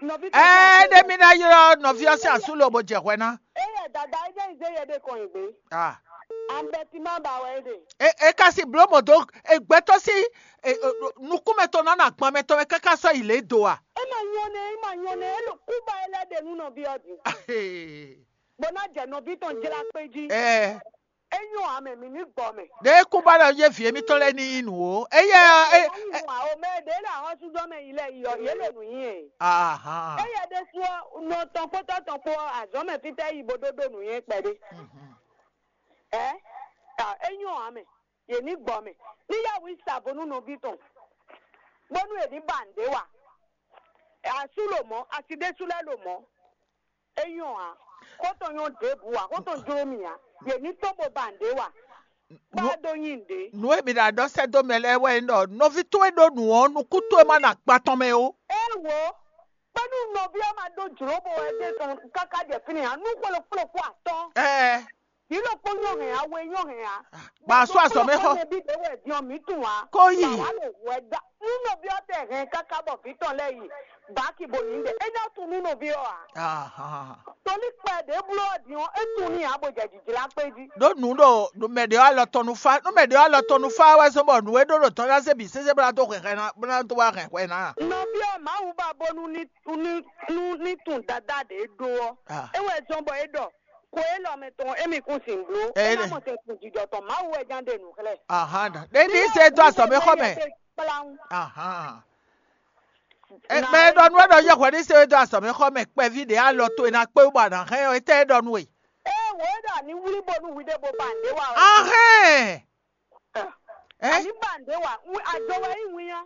Nɔví tɔn Ɛɛ, ɖé mi ná ylɔ́ nɔví ɔ́ sín asú lobo jɛ hwɛ ná. Éyɛ dada é ján yi zé yɛ ɖé kɔn yi gbé. Ah. Ambɛtima ba wɛ é ɖe. É é ka si bló mɔ dó é gbɛtɔ́ sí é, é, nukúnmɛ tɔn ná nɔ agban mɛ tɔn mɛ káká sɔ́ yi lě do a? É ma nyɔ́ nɛ, é ma nyɔ́ nɛ, é ɖo kúba é lɛ́ ɖe nú nɔví ɔ́ din. Bó ná jɛ nɔví tɔn jlá kpé jí. Ɛ É nyɔ́ ǎ mɛ, mǐ ní gbɔ mɛ. Ɖě kún ba ɖɔ yé vǐ émítɔn lɛ́ɛ ní yí nǔ ó. Éyɛ́ ɔ́, é, Ényí nú ǎ o, mɛ ɖě lɛ ahɔ́súzɔ́ mɛ yi lɛ́ɛ yi ɔ́, yě le nǔ nyi ɛ. Ahan. Éyɛ́ ɖésú ɔ́, nɔ tɔn kpótɔ́ tɔn kpó ɔ́, azɔ̌ mɛ fítɛ́ yi bó ɖó ɖó nǔnywɛ́ kpɛɖé. Ɛ? É nyɔ́ ǎ mɛ, yě ní gbɔ mɛ. Ní yá wǔ yi sa vo nú nɔví tɔn, bónú è ní ba nǔɖé wa. Asú lo mɔ̌, asi ɖésú lɛ́ɛ lo mɔ̌. É nyɔ́ ǎ. Xó tɔn nyɔ́ ɖěbǔ ǎ, xó tɔn jló mì ǎ. Yě ní tɔ́n bó ba nǔɖé wa. Bá Nú- ɖó nyi nǔɖé. Nǔ e mi ɖo aɖɔ sɛ́ dó mɛ lɛ́ɛ wɛ nyí ɖɔ nɔví towe ɖó nǔ ɔ́, nukún towe ma nɔ akpa tɔn mɛ ó. Éwo, kpɛ́nú nɔví ɔ́ ma ɖó jlǒ bó wɛ dé tɔn káká jɛ fínɛ́ ǎ. Nú xwé ɖokpó ɖokpó atɔ́. Ɛɛ, Yǐ ɖokpó nyɔ́ hɛn ǎ, we nyɔ́ hɛn ǎ. Ba sú azɔ̌ mɛ xɔ. Nɔví ɖé wɛ din ɔ́, mǐ tunwun ǎ. Kó yi. Bǎ wá ɖo hwɛ dá. Nú nɔví ɔ́ tɛ hɛn káká bɔ vǐ tɔn lɛ́ɛ yi bǎki bo yǐ ɖe, é nyɔ́ tunwun nú nɔví ɔ́ ǎ. Ahan. Tolí kpɛ ɖě bló ɔ́ din ɔ́, é tunwun n'i ǎ bó jɛ jǐjlá kpé jí. Ɖó nǔ ɖo ɖo mɛ ɖě alɔ tɔn nú fá, nú mɛ ɖě alɔ tɔn nú fá wɛ zɔ́n bɔ nǔ e ɖó ɖo tɔn ná zé bǐ sésé bó ná dó hɛn hwɛ ná, bó ná dó wá hɛn hwɛ ná. Nɔví ɔ́, Mawu ba bónú ní ní ní ní tunwun dadá ɖě ɖó ɔ́. Ah. É wɛ zɔ́n bɔ é ɖɔ xwe élɔ́ mɛ tɔn émí kún sin bló. Ɛ, é ná mɔ tɛn kun jijɔ tɔn Mawu wɛ ján ɖe nǔ xlɛ́. Ahan, ɖe ní zé dó azɔ̌ mɛ xɔ mɛ. Kpláwún. Ahan. Ɛ, mɛ e ɖɔ nú ɛ ɖɔ yɛ hwɛ ní zé dó azɔ̌ mɛ xɔ mɛ kpɛví ɖě alɔ towe ná kpé wú bɔ a nǎ hɛn ɔ́, étɛ́ é ɖɔ nú we? Ee, wǒ é ɖɔ a ní wlí bónú hwi ɖěvo ba nǔɖé wa wɛ. Ahɛn. Ɛ? A ní ba nǔɖé wa. Wi- Ado wɛ nyí winnyá.